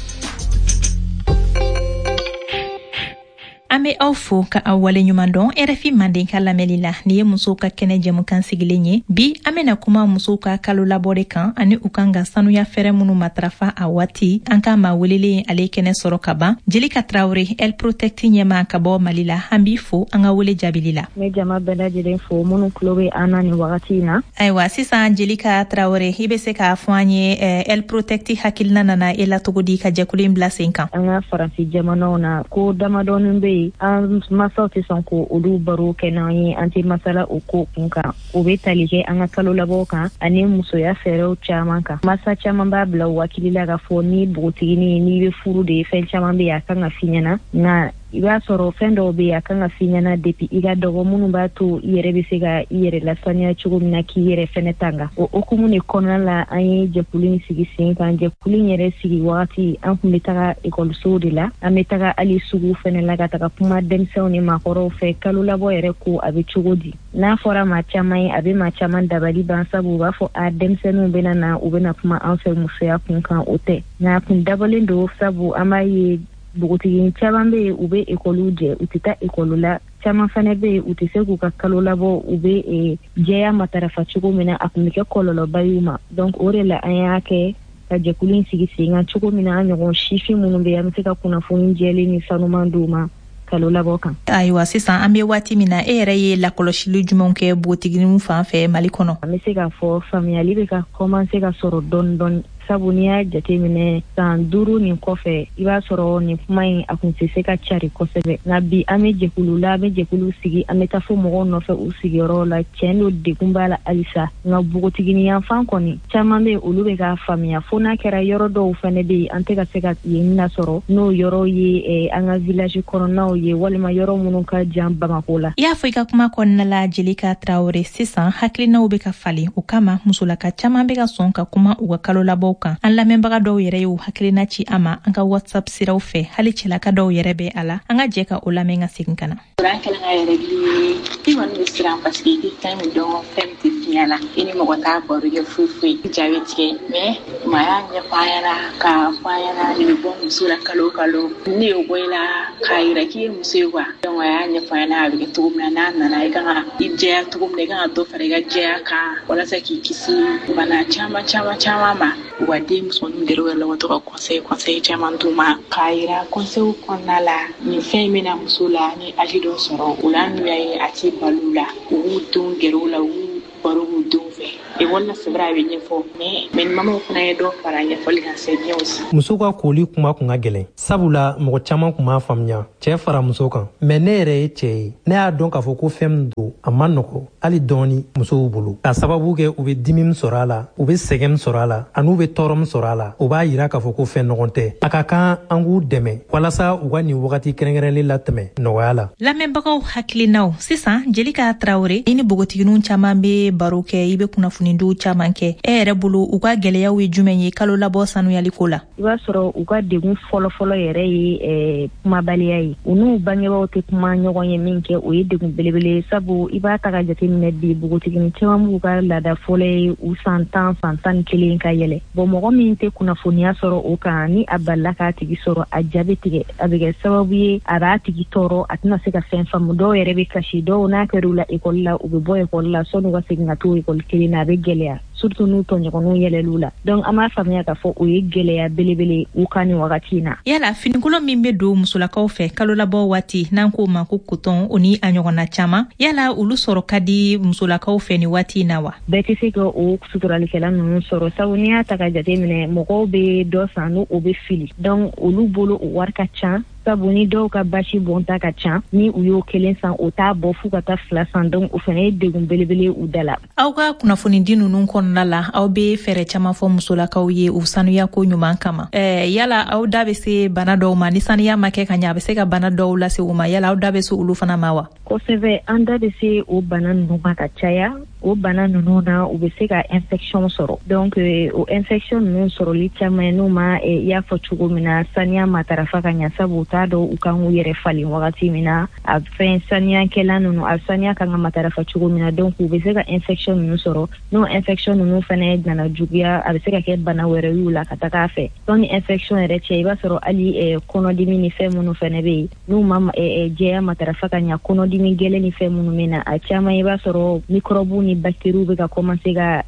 An be aw fo ka aw waleɲuman dɔn RFI Manden ka lamɛnli la. Nin ye musow ka kɛnɛ jɛmukan sigilen ye. Bi an bena kuma musow ka kalo labɔ de kan ani u kan ka sanuya fɛɛrɛ minnu matarafa a waati. An ka maa welelen ale kɛnɛ sɔrɔ ka ban, Jelika Traoré, El Protect ɲɛma ka bɔ Mali la. An b'i fo an ka wele jaabili la. Ne jama bɛɛ lajɛlen fo minnu tulo bɛ an na nin wagati in na. Ayiwa sisan Jelika Traoré, i be se k'a fɔ an ye El Protect hakilina nana e la cogo di ka jɛkulu in bila sen kan? An ka faransi jamanaw na, ko damadɔnin bɛ yen, an masaw tɛ sɔn ko olu baro kɛ n'an ye, an tɛ masala o ko kun kan. O bɛ tali kɛ an ka kalo labɔw kan ani musoya fɛɛrɛw caman kan. Masa caman b'a bila u hakili la k'a fɔ ni npogotiginin n'i bɛ furu de, fɛn caman bɛ yen a kan ka f'i ɲɛna, nka i b'a sɔrɔ fɛn dɔw bɛ yen a kan ka f'i ɲɛna depuis i ka dɔgɔ, minnu b'a to i yɛrɛ bɛ se ka i yɛrɛ lasaniya cogo min na k'i yɛrɛ fɛnɛ tanga. O hukumu de kɔnɔna la an ye jɛkulu in sigi sen kan. Jɛkulu in yɛrɛ sigi wagati an tun bɛ taga ekɔlisow de la, an bɛ taga hali sugu fɛnɛ la ka taga kuma denmisɛnw ni maakɔrɔw fɛ kalo labɔ yɛrɛ ko a bɛ cogo di. N'a fɔra maa caman ye, a bɛ maa caman dabali ban, sabu u b'a fɔ a denmisɛnninw bɛna na, u bɛna kuma an fɛ musoya kun kan. O tɛ, nka a kun dabɔlen don, sabu an b'a ye npogotiginin caman bɛ yen u bɛ ekɔliw jɛ, u tɛ taa ekɔli la. Caman fana bɛ yen u tɛ se k'u ka kalo labɔ, u bɛ jɛya matarafa cogo min na, a tun bɛ kɛ kɔlɔlɔba y'u ma. Donc o de la an y'a kɛ ka jɛkulu in sigi sen kan cogo min na an ɲɔgɔn sifin minnu bɛ yen, an bɛ se ka kunnafoni jɛlen ni sanuman d'u ma kalo labɔ kan. Ayiwa sisan an bɛ waati min na, e yɛrɛ ye lakɔlɔsili jumɛnw kɛ npogotigininw fan fɛ Mali kɔnɔ? An bɛ se k'a fɔ faamuyali bɛ ka commencer ka sɔrɔ dɔɔni dɔɔni. Sabu n'i y'a jateminɛ san 5 nin kɔfɛ, i b'a sɔrɔ nin kuma in a kun tɛ se ka cari kosɛbɛ. Nka bi an bɛ jɛkulu la, an bɛ jɛkulu sigi, an bɛ taa fo mɔgɔw nɔfɛ u sigiyɔrɔ la. Tiɲɛ don, degun b'a la halisa, nka npogotiginin yanfan kɔni caman bɛ yen, olu bɛ k'a faamuya. Fo n'a kɛra yɔrɔ dɔw fɛnɛ bɛ yen, an tɛ ka se ka yen lasɔrɔ, n'o yɔrɔ ye an ka village kɔnɔnaw ye walima yɔrɔ minnu ka jan Bamako la. I y'a fɔ i ka kuma kɔnɔna la, Jelika Tarawele, sisan hakilinaw bɛ ka falen, o kama musolaka caman bɛ ka sɔn ka kuma u ka kalolabɔw kan. An lamɛnbaga dɔw yɛrɛ y'u hakilina ci an ma an ka WhatsApp siraw fɛ, hali cɛlaka dɔw yɛrɛ bɛ a la. An ka jɛ ka o lamɛn ka segin ka na. An kɛlen ka yɛrɛ ye, i kɔni bɛ siran parce que i tɛ fɛn min dɔn, fɛn min tɛ f'i ɲɛna, i ni mɔgɔ t'a baro kɛ foyi foyi, i ja bɛ tigɛ. Mais maa y'a ɲɛfɔ an ɲɛna k'a fɔ an ɲɛna nin bɛ bɔ muso la kalo o kalo, ne y'o bɔ i la k'a yira k'i ye muso ye quoi. Donc a y'a ɲɛfɔ an ɲɛna a bɛ kɛ cogo min na, n'a nana i kan ka i jɛya cogo min na, i kan ka dɔ fara i ka jɛya kan walasa k'i kisi bana caman caman caman ma. U ka den musomaninw gɛrɛ u yɛrɛ la, u ka to ka conseil caman d'u ma k'a yira conseil kɔnɔna la nin fɛn in bɛna muso la ni âge dɔ sɔrɔ o la, n'u y'a ye a tɛ balo la, u b'u denw gɛrɛ u la, u b'u baro b'u denw fɛ. Ekɔli la c'est vrai a bɛ ɲɛfɔ, mais ni mamaw fana ye dɔ fara ɲɛfɔli kan, c'est bien aussi. Muso ka koli kuma kun ka gɛlɛn, sabula mɔgɔ caman kun m'a faamuya cɛɛ fara muso kan. Mais ne yɛrɛ ye cɛɛ ye, ne y'a dɔn k'a fɔ ko fɛn min don, a ma nɔgɔ hali dɔɔni musow bolo, k'a sababu kɛ u be dimi min sɔrɔ a la, u be sɛgɛn min sɔrɔ a la, an'u be tɔɔrɔ min sɔrɔ a la. O b'a yira k'a fɔ ko fɛn nɔgɔn tɛ. A ka kan an k'u dɛmɛ walasa u ka nin wagati kɛrɛnkɛrɛnlen latɛmɛ nɔgɔya la. Lamɛnbagaw hakilinaw sisan, Jelika Tarawele, i ni npogotigininw caman be baro kɛ, i be kunnafonidiw caman kɛ. E yɛrɛ bolo, u ka gɛlɛyaw ye jumɛn ye kalo labɔ sanuyaliko la? I b'a sɔrɔ u ka degun fɔlɔfɔlɔ yɛrɛ ye kumabaliya ye. U n'u bangebaaw tɛ kuma ɲɔgɔn ye min kɛ, o ye degun belebele ye. Sabu i b'a ta ka jateminɛ bi, npogotiginin caman b'u ka laada fɔlɔ ye u san 10, san 11 ka yɛlɛ. Bon, mɔgɔ min tɛ kunnafoniya sɔrɔ o kan, ni a balila k'a tigi sɔrɔ, a ja bɛ tigɛ, a bɛ kɛ sababu ye a b'a tigi tɔɔrɔ, a tɛna se ka fɛn faamu. Dɔw yɛrɛ bɛ kasi, dɔw n'a kɛra u la ekɔli la, u bɛ bɔ ekɔli la sɔnni u ka segin ka t'o ekɔli kelen na, a bɛ gɛlɛya, surtout n'u tɔɲɔgɔnw yɛlɛl'u la. Donc an b'a faamuya k'a fɔ o ye gɛlɛya belebele u kan nin wagati in na. Yala finikolon min bɛ don musolakaw fɛ kalolabɔ waati, n'an k'o ma ko coton, o ni a ɲɔgɔnna caman, yala olu sɔrɔ ka di musolakaw fɛ nin waati in na wa? Bɛɛ tɛ se ka o suturalikɛla ninnu sɔrɔ, sabu n'i y'a ta ka jate minɛ, mɔgɔw bɛ dɔ san n'o bɛ fili, donc olu bolo o wari ka ca. Sabu ni dɔw ka basi bɔnta ka ca, ni u y'o kelen san, o t'a bɔ f'u ka taa 2 san. Donc o fana ye degun belebele u da la. Aw ka kunnafonidi ninnu kɔnɔna la, aw bɛ fɛɛrɛ caman fɔ musolakaw ye u sanuya ko ɲuman kama. Yala aw da bɛ se bana dɔw ma? Ni sanuya ma kɛ ka ɲɛ, a bɛ se ka bana dɔw lase u ma. Yala aw da bɛ se olu fana ma wa? Kosɛbɛ, an da bɛ se o bana ninnu ma ka caya. O bana ninnu na, u bɛ se ka infection sɔrɔ. Donc o infection ninnu sɔrɔli caman ye n'u ma, i y'a fɔ cogo min na, saniya matarafa ka ɲɛ, sabu u t'a dɔn u kan k'u yɛrɛ falen wagati min na, a fɛn saniyakɛla ninnu, a saniya kan ka matarafa cogo min na. Donc u bɛ se ka infection ninnu sɔrɔ. N'o infection ninnu fana nana juguya, a bɛ se ka kɛ bana wɛrɛ y'u la ka taga a fɛ. Sɔnni infection yɛrɛ cɛ, i b'a sɔrɔ hali kɔnɔdimi ni fɛn minnu fana bɛ yen, n'u ma jɛya matarafa ka ɲɛ, kɔnɔdimi gɛlɛn ni fɛn minnu bɛ na, a caman i b'a sɔrɔ microbe ni bactéries bɛ ka commencer ka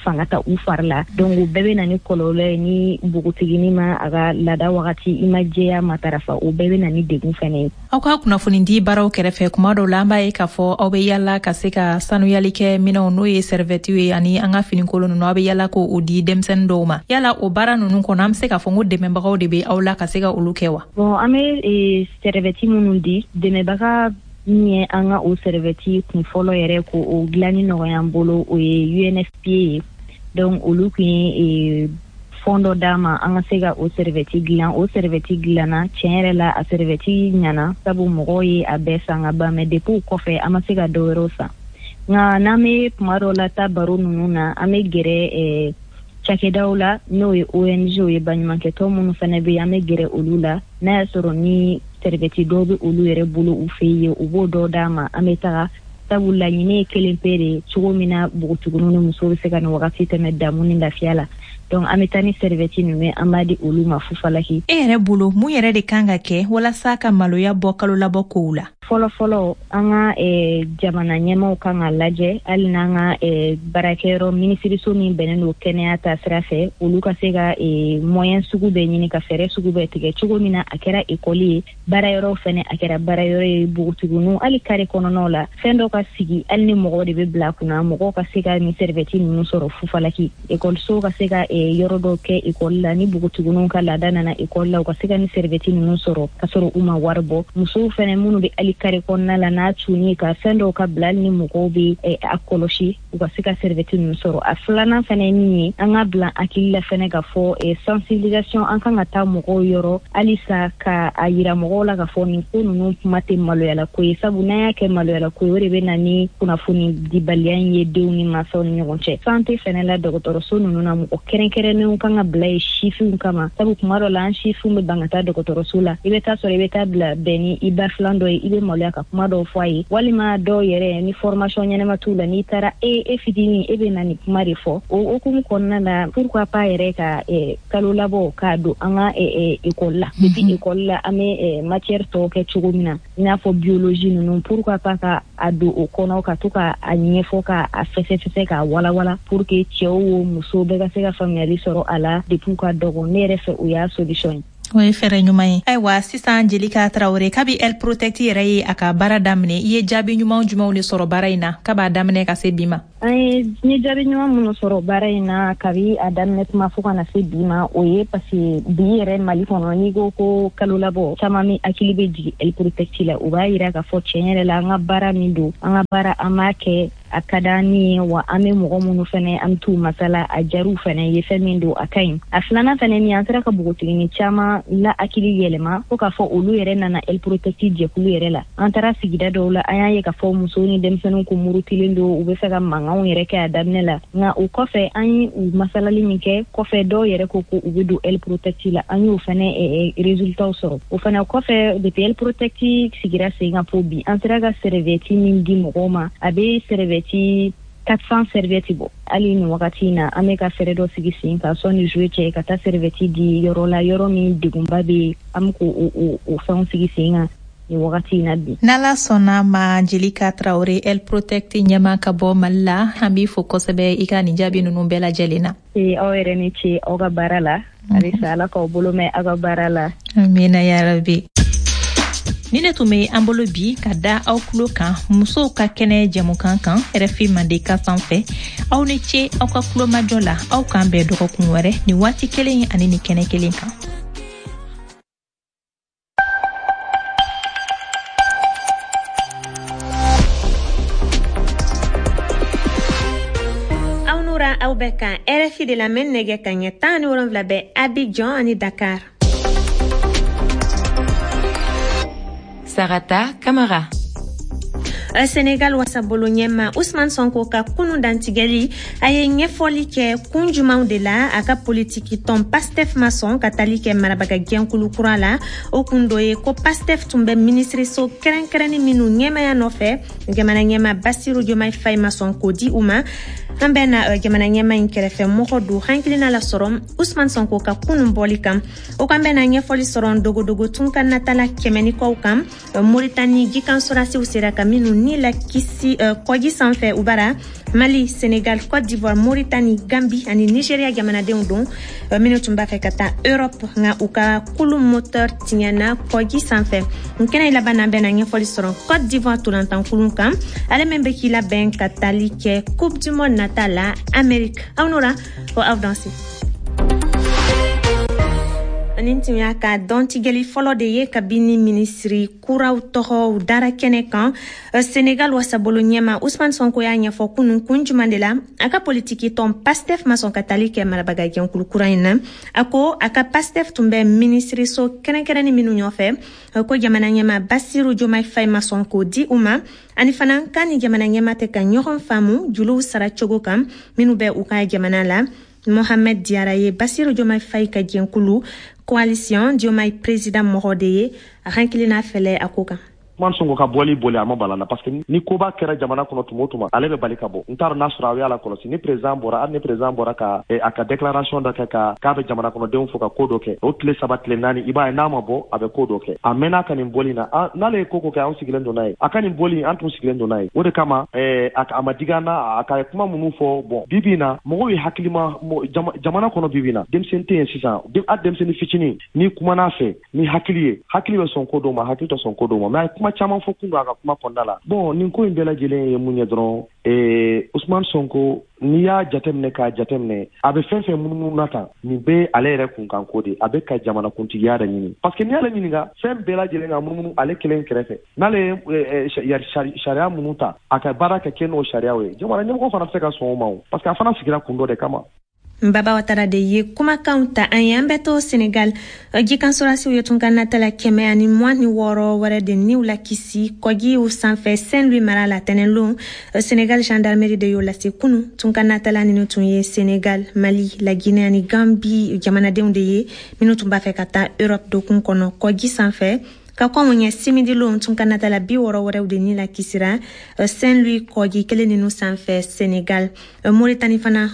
fanga ta u fari la. Donc o bɛɛ bɛ na ni kɔlɔlɔ ye. Ni npogotiginin ma a ka laada wagati, i ma jɛya matarafa, o bɛɛ bɛ na ni degun fana ye. Aw ka kunnafonidi baaraw kɛrɛfɛ, kuma dɔw la an b'a ye k'a fɔ aw bɛ yala ka se ka sanuyali kɛ minɛnw, n'o ye sɛrivɛtiw ye ani an ka finikolon ninnu, aw bɛ yala k'o di denmisɛnnin dɔw ma. Yala o baara ninnu kɔnɔ, an bɛ se k'a fɔ ko dɛmɛbagaw de bɛ aw la ka se ka olu kɛ wa? Bon, an bɛ sɛrivɛti minnu di, dɛmɛbaga min ye an ka o sɛrivɛti kun fɔlɔ yɛrɛ ko o dilanni nɔgɔya an bolo, o ye UNFPA ye. Donc olu kun ye fond dɔ d'an ma an ka se ka o sɛrivɛti dilan. O sɛrivɛti dilanna, tiɲɛ yɛrɛ la a sɛrivɛti ɲana, sabu mɔgɔw ye a bɛɛ san ka ban. Mais depuis o kɔfɛ, an ma se ka dɔ wɛrɛw san. Nka n'an bɛ kuma dɔw la taa baro ninnu na, an bɛ gɛrɛ cakɛdaw la, n'o ye ONG ye, baɲumankɛtɔn minnu fana bɛ yen, an bɛ gɛrɛ olu la. N'a y'a sɔrɔ ni sɛrivɛti dɔw bɛ olu yɛrɛ bolo u fɛ yen, u b'o dɔw d'an ma, an bɛ taga. Sabu laɲini ye kelen pe de, cogo min na npogotigininw ni musow bɛ se ka nin wagati tɛmɛ damu ni lafiya la. Donc an bɛ taa ni sɛrivɛti ninnu ye, an b'a di olu ma fufalaki. E yɛrɛ bolo, mun yɛrɛ de kan ka kɛ walasa ka maloya bɔ kalolabɔ kow la? Fɔlɔ fɔlɔ, an ka jamana ɲɛmaaw kan ka lajɛ, hali n'an ka baarakɛyɔrɔ minisiriso min bɛnnen don kɛnɛya ta sira fɛ, olu ka se ka moyen sugu bɛɛ ɲini ka fɛɛrɛ sugu bɛɛ tigɛ, cogo min na a kɛra ekɔli ye, baarayɔrɔw fɛnɛ a kɛra baarayɔrɔ ye, npogotigininw hali kare kɔnɔnaw la, fɛn dɔ ka sigi, hali ni mɔgɔw de bɛ bila kunna, mɔgɔw ka se ka nin sɛrivɛti ninnu sɔrɔ fufalaki, ekɔliso ka se ka yɔrɔ dɔw kɛ ekɔli la, ni npogotigininw ka laada nana ekɔli la, u ka se ka ni sɛrɛvɛti ninnu sɔrɔ ka sɔrɔ u ma wari bɔ. Musow fɛnɛ minnu bɛ hali kare kɔnɔna la, n'a tunni ka fɛn dɔw ka bila, hali ni mɔgɔw bɛ a kɔlɔsi, u ka se ka sɛrɛvɛti ninnu sɔrɔ. A filanan fɛnɛ ye min ye, an ka bila hakili la fɛnɛ ka fɔ sensibilisation, an kan ka taa mɔgɔw yɔrɔ halisa ka a yira mɔgɔw la ka fɔ nin ko ninnu kuma tɛ maloyala ko ye, sabu n'an y'a kɛ maloyala ko ye, o de bɛ na ni kunnafoni dibaliya in ye denw ni mansaw ni ɲɔgɔn cɛ. Santé fɛnɛ la, dɔgɔtɔrɔso ninnu na, mɔgɔ kɛrɛnkɛrɛnnenw kan ka bila ye sifinw kama, sabu kuma dɔ la an sifinw bɛ ban ka taa dɔgɔtɔrɔso la. I bɛ taa sɔrɔ i bɛ taa bila bɛn ni i ba filan dɔ ye, i bɛ maloya ka kuma dɔw fɔ a ye, walima dɔw yɛrɛ ni formation ɲɛnama t'u la, n'i taara e fitinin, e bɛ na nin kuma de fɔ. O hukumu kɔnɔna la, pourquoi pas yɛrɛ ka kalo labɔ k'a don an ka école la. Depuis école la, an bɛ matière tɔw kɛ cogo min na, i n'a fɔ biologie ninnu, pourquoi pas ka a don o kɔnɔ, ka to ka a ɲɛfɔ, ka a fɛsɛfɛsɛ, k'a walawala, pour que cɛw o musow bɛɛ ka se ka faamuyali sɔrɔ a la depuis u ka dɔgɔ. Ne yɛrɛ fɛ, o y'a solution ye. O ye fɛɛrɛ ɲuman ye. Ayiwa, sisan Jelika Tarawele, kabi El Protect yɛrɛ ye a ka baara daminɛ, i ye jaabi ɲuman jumɛnw de sɔrɔ baara in na kab'a daminɛ ka se bi ma? An ye n ye jaabi ɲuman minnu sɔrɔ baara in na kabi a daminɛ tuma fo ka na se bi ma, o ye parce que bi yɛrɛ Mali kɔnɔ, n'i ko ko kalo labɔ, caman min hakili bɛ jigin El Protect la. O b'a yira k'a fɔ tiɲɛ yɛrɛ la, an ka baara min don, an ka baara, an b'a kɛ, a ka d'an ni ye, wa an bɛ mɔgɔ minnu fɛnɛ, an bɛ t'u masala, a jariw fɛnɛ ye, fɛn min don, a ka ɲi. A filanan fɛnɛ min, an sera ka npogotiginin caman la hakili yɛlɛma fo k'a fɔ olu yɛrɛ nana El Protect jɛkulu yɛrɛ la. An taara sigida dɔw la, an y'a ye k'a fɔ musow ni denmisɛnninw ko murutilen don, u bɛ fɛ ka mankanw yɛrɛ kɛ a daminɛ la. Nka o kɔfɛ, an ye u masalali min kɛ kɔfɛ, dɔw yɛrɛ ko ko u bɛ don El Protect la. An y'o fɛnɛ résultat sɔrɔ. O fɛnɛ kɔfɛ, depuis El Protect sigira sen kan fo bi, an sera ka serviette min di mɔgɔw ma, a bɛ serviette 400 serviette bɔ. Hali nin wagati in na, an bɛ ka fɛɛrɛ dɔ sigi sen kan sɔnni juillet cɛ, ka taa serviette di yɔrɔ la, yɔrɔ min degunba bɛ yen. An bɛ k'o o fɛnw sigi sen kan nin wagati in na bi. N'Ala sɔnna ma, Jelika Tarawele, El Protect ɲɛma ka bɔ Mali la, an b'i fo kosɛbɛ i ka nin jaabi ninnu bɛɛ lajɛlen na. Aw yɛrɛ ni ce aw ka baara la. Halisa Ala k'aw bolo mɛn aw ka baara la. Amina yarabi. Ni ne tun bɛ an bolo bi ka da aw tulo kan musow ka kɛnɛ jɛmukan kan RFI Mandenkan sanfɛ. Aw ni ce aw ka kulomajɔ la. Aw k'an bɛn dɔgɔkun wɛrɛ nin waati kelen ani nin kɛnɛ kelen kan. Aw nura, aw bɛ kan RFI de lamɛn. Nɛgɛ ka ɲɛ 17 bɛ Abidjan ani Dakar. Sarata Kamara. Senegal wasabolo ɲɛma Usman Sonko ka kunu dantigɛli, a ye ɲɛfɔli kɛ kun jumanw de la a ka politiki tɔn Pastef ma sɔn ka tali kɛ marabaga jɛnkulu kura la. O kun dɔ ye ko Pastef tun bɛ minisiriso kɛrɛnkɛrɛnni minnu ɲɛmaya nɔfɛ, jamana ɲɛma Basiru Diomaye Faye ma sɔn k'o di u ma. An bɛ na jamana ɲɛma in kɛrɛfɛ mɔgɔ don hakilina la sɔrɔ Usman Sonko ka kunun bɔli kan. O kan bɛ na ɲɛfɔli sɔrɔ dogodogo tunkan natala 100 ni kɔw kan, Moritani jikan sɔrasiw sera ka minnu ni la kisi kɔji sanfɛ u bara. Mali, Senegal, Côte d'Ivoire, Mauritanie, Gambie ani Nigeria jamanadenw don minnu tun b'a fɛ ka taa Europe, nka u ka kulu moteur tiɲɛna kɔji sanfɛ. N kɛnɛ laban na, bɛna ɲɛfɔli sɔrɔ Côte d'Ivoire tolantan kan, ale min bɛ k'i labɛn ka tali kɛ Coupe du monde nata la Amérique. Aw nora o aw danse. Nin tun y'a ka dɔntigɛli fɔlɔ de ye kabini minisiri kuraw tɔgɔw dara kɛnɛ kan. Senegal wasabolo ɲɛma Usman Sonko y'a ɲɛfɔ kunun kun juman de la a ka politiki tɔn Pastef ma sɔn ka tali kɛ marabaga jɛnkulu kura in na. A ko a ka Pastef tun bɛ minisiriso kɛrɛnkɛrɛnni minnu ɲɔfɛ, ko jamana ɲɛma Basiru Diomaye Faye ma sɔn k'o di u ma, ani fana k'a ni jamana ɲɛma tɛ ka ɲɔgɔn faamu juluw sara cogo kan minnu bɛ u ka jamana la. Mohamed Diarra ye Basiru Diomaye Faye ka jɛnkulu Coalition Diomaye Président mɔgɔ de ye. A hakilina fɛlɛ a ko kan. Usman Sonko ka bɔli boli a ma bala la, parce que ni koba kɛra jamana kɔnɔ tuma o tuma, ale bɛ bali ka bɔ. N t'a dɔn n'a sɔrɔ aw y'a la kɔlɔsi, ni président bɔra, hali ni président bɔra ka a ka déclaration dɔ kɛ, ka k'a bɛ jamana kɔnɔdenw fo ka ko dɔ kɛ, o tile 3, tile 4, i b'a ye n'a ma bɔ, a bɛ ko dɔ kɛ. A mɛnna ka nin bɔli na, n'ale ye ko ko kɛ, anw sigilen don n'a ye. A ka nin bɔli, an tun sigilen don n'a ye. O de kama a ma digi an na a ka kuma minnu fɔ. Bon, bi bi in na, mɔgɔw ye hakilima jamana kɔnɔ. Bi bi in na, denmisɛnnin tɛ yen sisan, hali denmisɛnnin fitinin, n'i kumana a fɛ ni hakili ye, hakili bɛ sɔn ko dɔw ma, hakili tɛ sɔn ko dɔw ma. Mais a ye kuma kuma caman fɔ kun don a ka kuma kɔnɔna la. Bon, nin ko in bɛɛ lajɛlen ye mun ye dɔrɔn, Ousmane Sonko, n'i y'a jateminɛ k'a jateminɛ, a bɛ fɛn fɛn munumunu na tan, nin bɛ ale yɛrɛ kunkanko de, a bɛ ka jamanakuntigiya de ɲini, parce que n'i y'ale ɲininka fɛn bɛɛ lajɛlen ka munumunu ale kelen kɛrɛfɛ, n'ale ye sariya minnu ta, a ka baara kɛ n'o sariyaw ye, jamana ɲɛmɔgɔ fana tɛ se ka sɔn o ma o, parce que a fana sigira kun dɔ de kama. Baba Watara de ye kumakanw ta an ye. An bɛ to Senegal. Jikan sɔrɔdasiw ye tunkanatala 126 wɛrɛ de niw lakisi kɔjiw sanfɛ Saint-Louis mara la tɛnɛnlon. Senegal gendarmerie de y'o lase kunu. Tunkanatala ninnu tun ye Senegal, Mali, la Guinée ani Gambie jamanadenw de ye, minnu tun b'a fɛ ka taa Europe dokun kɔnɔ kɔji sanfɛ. Ka kɔn ɲɛ simidilon, tunkanatala 60 wɛrɛw de ni lakisira Saint-Louis kɔji kelen ninnu sanfɛ Senegal. Moritani fana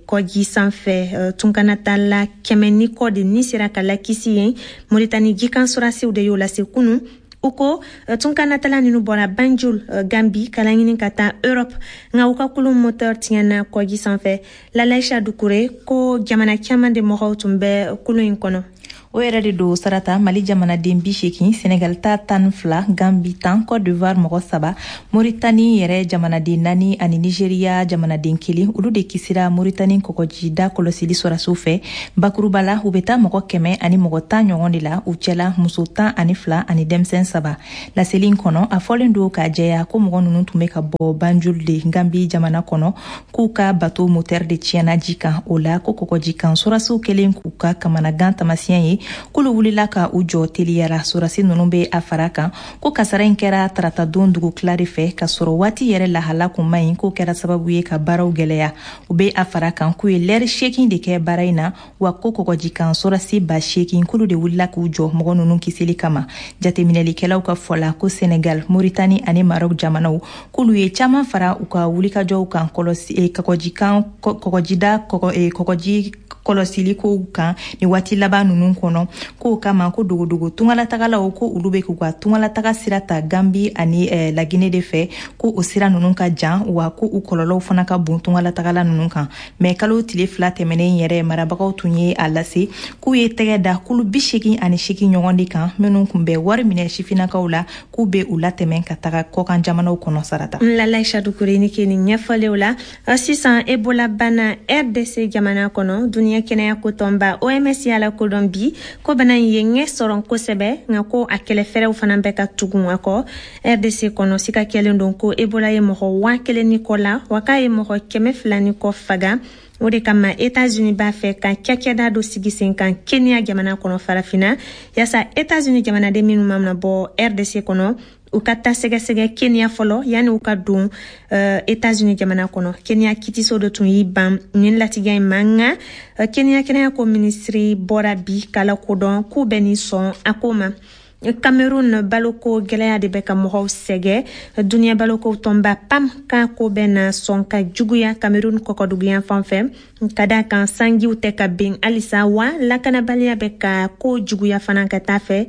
kɔji sanfɛ, tunkanatala 100 ni kɔ de ni sera ka lakisi yen. Moritani jikan sɔrɔdasiw de y'o lase kunu. U ko tunkanatala ninnu bɔra Banjul, Gambi, ka laɲini ka taa Europe, nka u ka kulun moteur tiɲɛna kɔji sanfɛ. Lalaisha Dukure ko jamana caman de mɔgɔw tun bɛ kulun in kɔnɔ. O yɛrɛ de don, Sarata. Mali jamanaden 80, Senegal ta 12, Gambi 10, Cote d'Ivoire mɔgɔ saba, Moritani yɛrɛ jamanaden naani ani Nigeriya jamanaden kelen, olu de kisira Moritani kɔgɔjida kɔlɔsili sɔrɔdasiw fɛ. Bakuruba la, u bɛ taa mɔgɔ 110 ɲɔgɔn de la, u cɛla muso 12 ani denmisɛn saba. Laseli in kɔnɔ, a fɔlen don k'a jɛya ko mɔgɔ ninnu tun bɛ ka bɔ Banjul de, Gambi jamana kɔnɔ, k'u ka bateau moteur de tiɲɛna ji kan. O la ko kɔgɔji kan sɔrɔdasiw kɛlen k'u ka kamanagan tamasiyɛn ye, k'olu wulila ka u jɔ teliyara. Sɔrɔdasi ninnu bɛ a fara kan ko kasara in kɛra taratadon dugutila de fɛ, ka sɔrɔ waati yɛrɛ lahala kun man ɲi, k'o kɛra sababu ye ka baaraw gɛlɛya. U bɛ a fara kan k'u ye lɛri 8 de kɛ baara in na, wa ko kɔgɔjikan sɔrɔdasi 8000 k'olu de wulila k'u jɔ mɔgɔ ninnu kisili kama. Jateminɛlikɛlaw ka fɔ la ko Senegal, Moritani ani Maroc jamanaw, k'olu ye caman fara u ka wulikajɔw kan kɔlɔsi kɔgɔjikan kɔgɔjida kɔgɔji kɔlɔsili kow kan ni waati laban ninnu kɔnɔ. K'o kama ko dogodogo tungalatagalaw, ko olu bɛ k'u ka tungalataga sira ta Gambi ani Laginɛ de fɛ, ko o sira ninnu ka jan, wa ko u kɔlɔlɔw fana ka bon tungalatagala ninnu kan. Mɛ kalo tile 2 tɛmɛnen yɛrɛ, marabagaw tun ye a lase k'u ye tɛgɛ da kulu 88 ɲɔgɔn de kan, minnu tun bɛ wari minɛ sifinnakaw la, k'u bɛ u latɛmɛ ka taga kɔkan jamanaw kɔnɔ, Sarata. Lalaisha Dukure ni ke nin ɲɛfɔlenw la. Sisan, Ebola bana RDC jamana kɔnɔ, duniɲɛ kɛnɛya ko tɔnba OMS y'a lakodɔn bi ko bana in ye ɲɛ sɔrɔ kosɛbɛ, nka ko a kɛlɛfɛɛrɛw fana bɛ ka tugun a kɔ. RDC kɔnɔ, sika kɛlen don ko Ebola ye mɔgɔ 1000 ni kɔ la, wa k'a ye mɔgɔ 200 ni kɔ faga. O de kama Etats-Unis b'a fɛ ka cakɛda dɔ sigi sen kan Kenya jamana kɔnɔ farafinna, yaasa Etats-Unis jamanaden minnu mana bɔ RDC kɔnɔ, u ka taa sɛgɛsɛgɛ Kenya fɔlɔ yanni u ka don Etats-Unis jamana kɔnɔ. Kenya kitiso dɔ tun y'i ban nin latigɛ in ma, nka Kenya kɛnɛya ko minisiri bɔra bi k'a lakodɔn k'u bɛ nin sɔn a ko ma. Cameroun, baloko gɛlɛya de bɛ ka mɔgɔw sɛgɛ. Duniɲɛ baloko tɔnba PAM ka ko bɛ na sɔn ka juguya Cameroun kɔkɔduguyan fan fɛ, ka da kan sanjiw tɛ ka ben halisa, wa lakanabaliya bɛ ka ko juguya fana ka taa fɛ.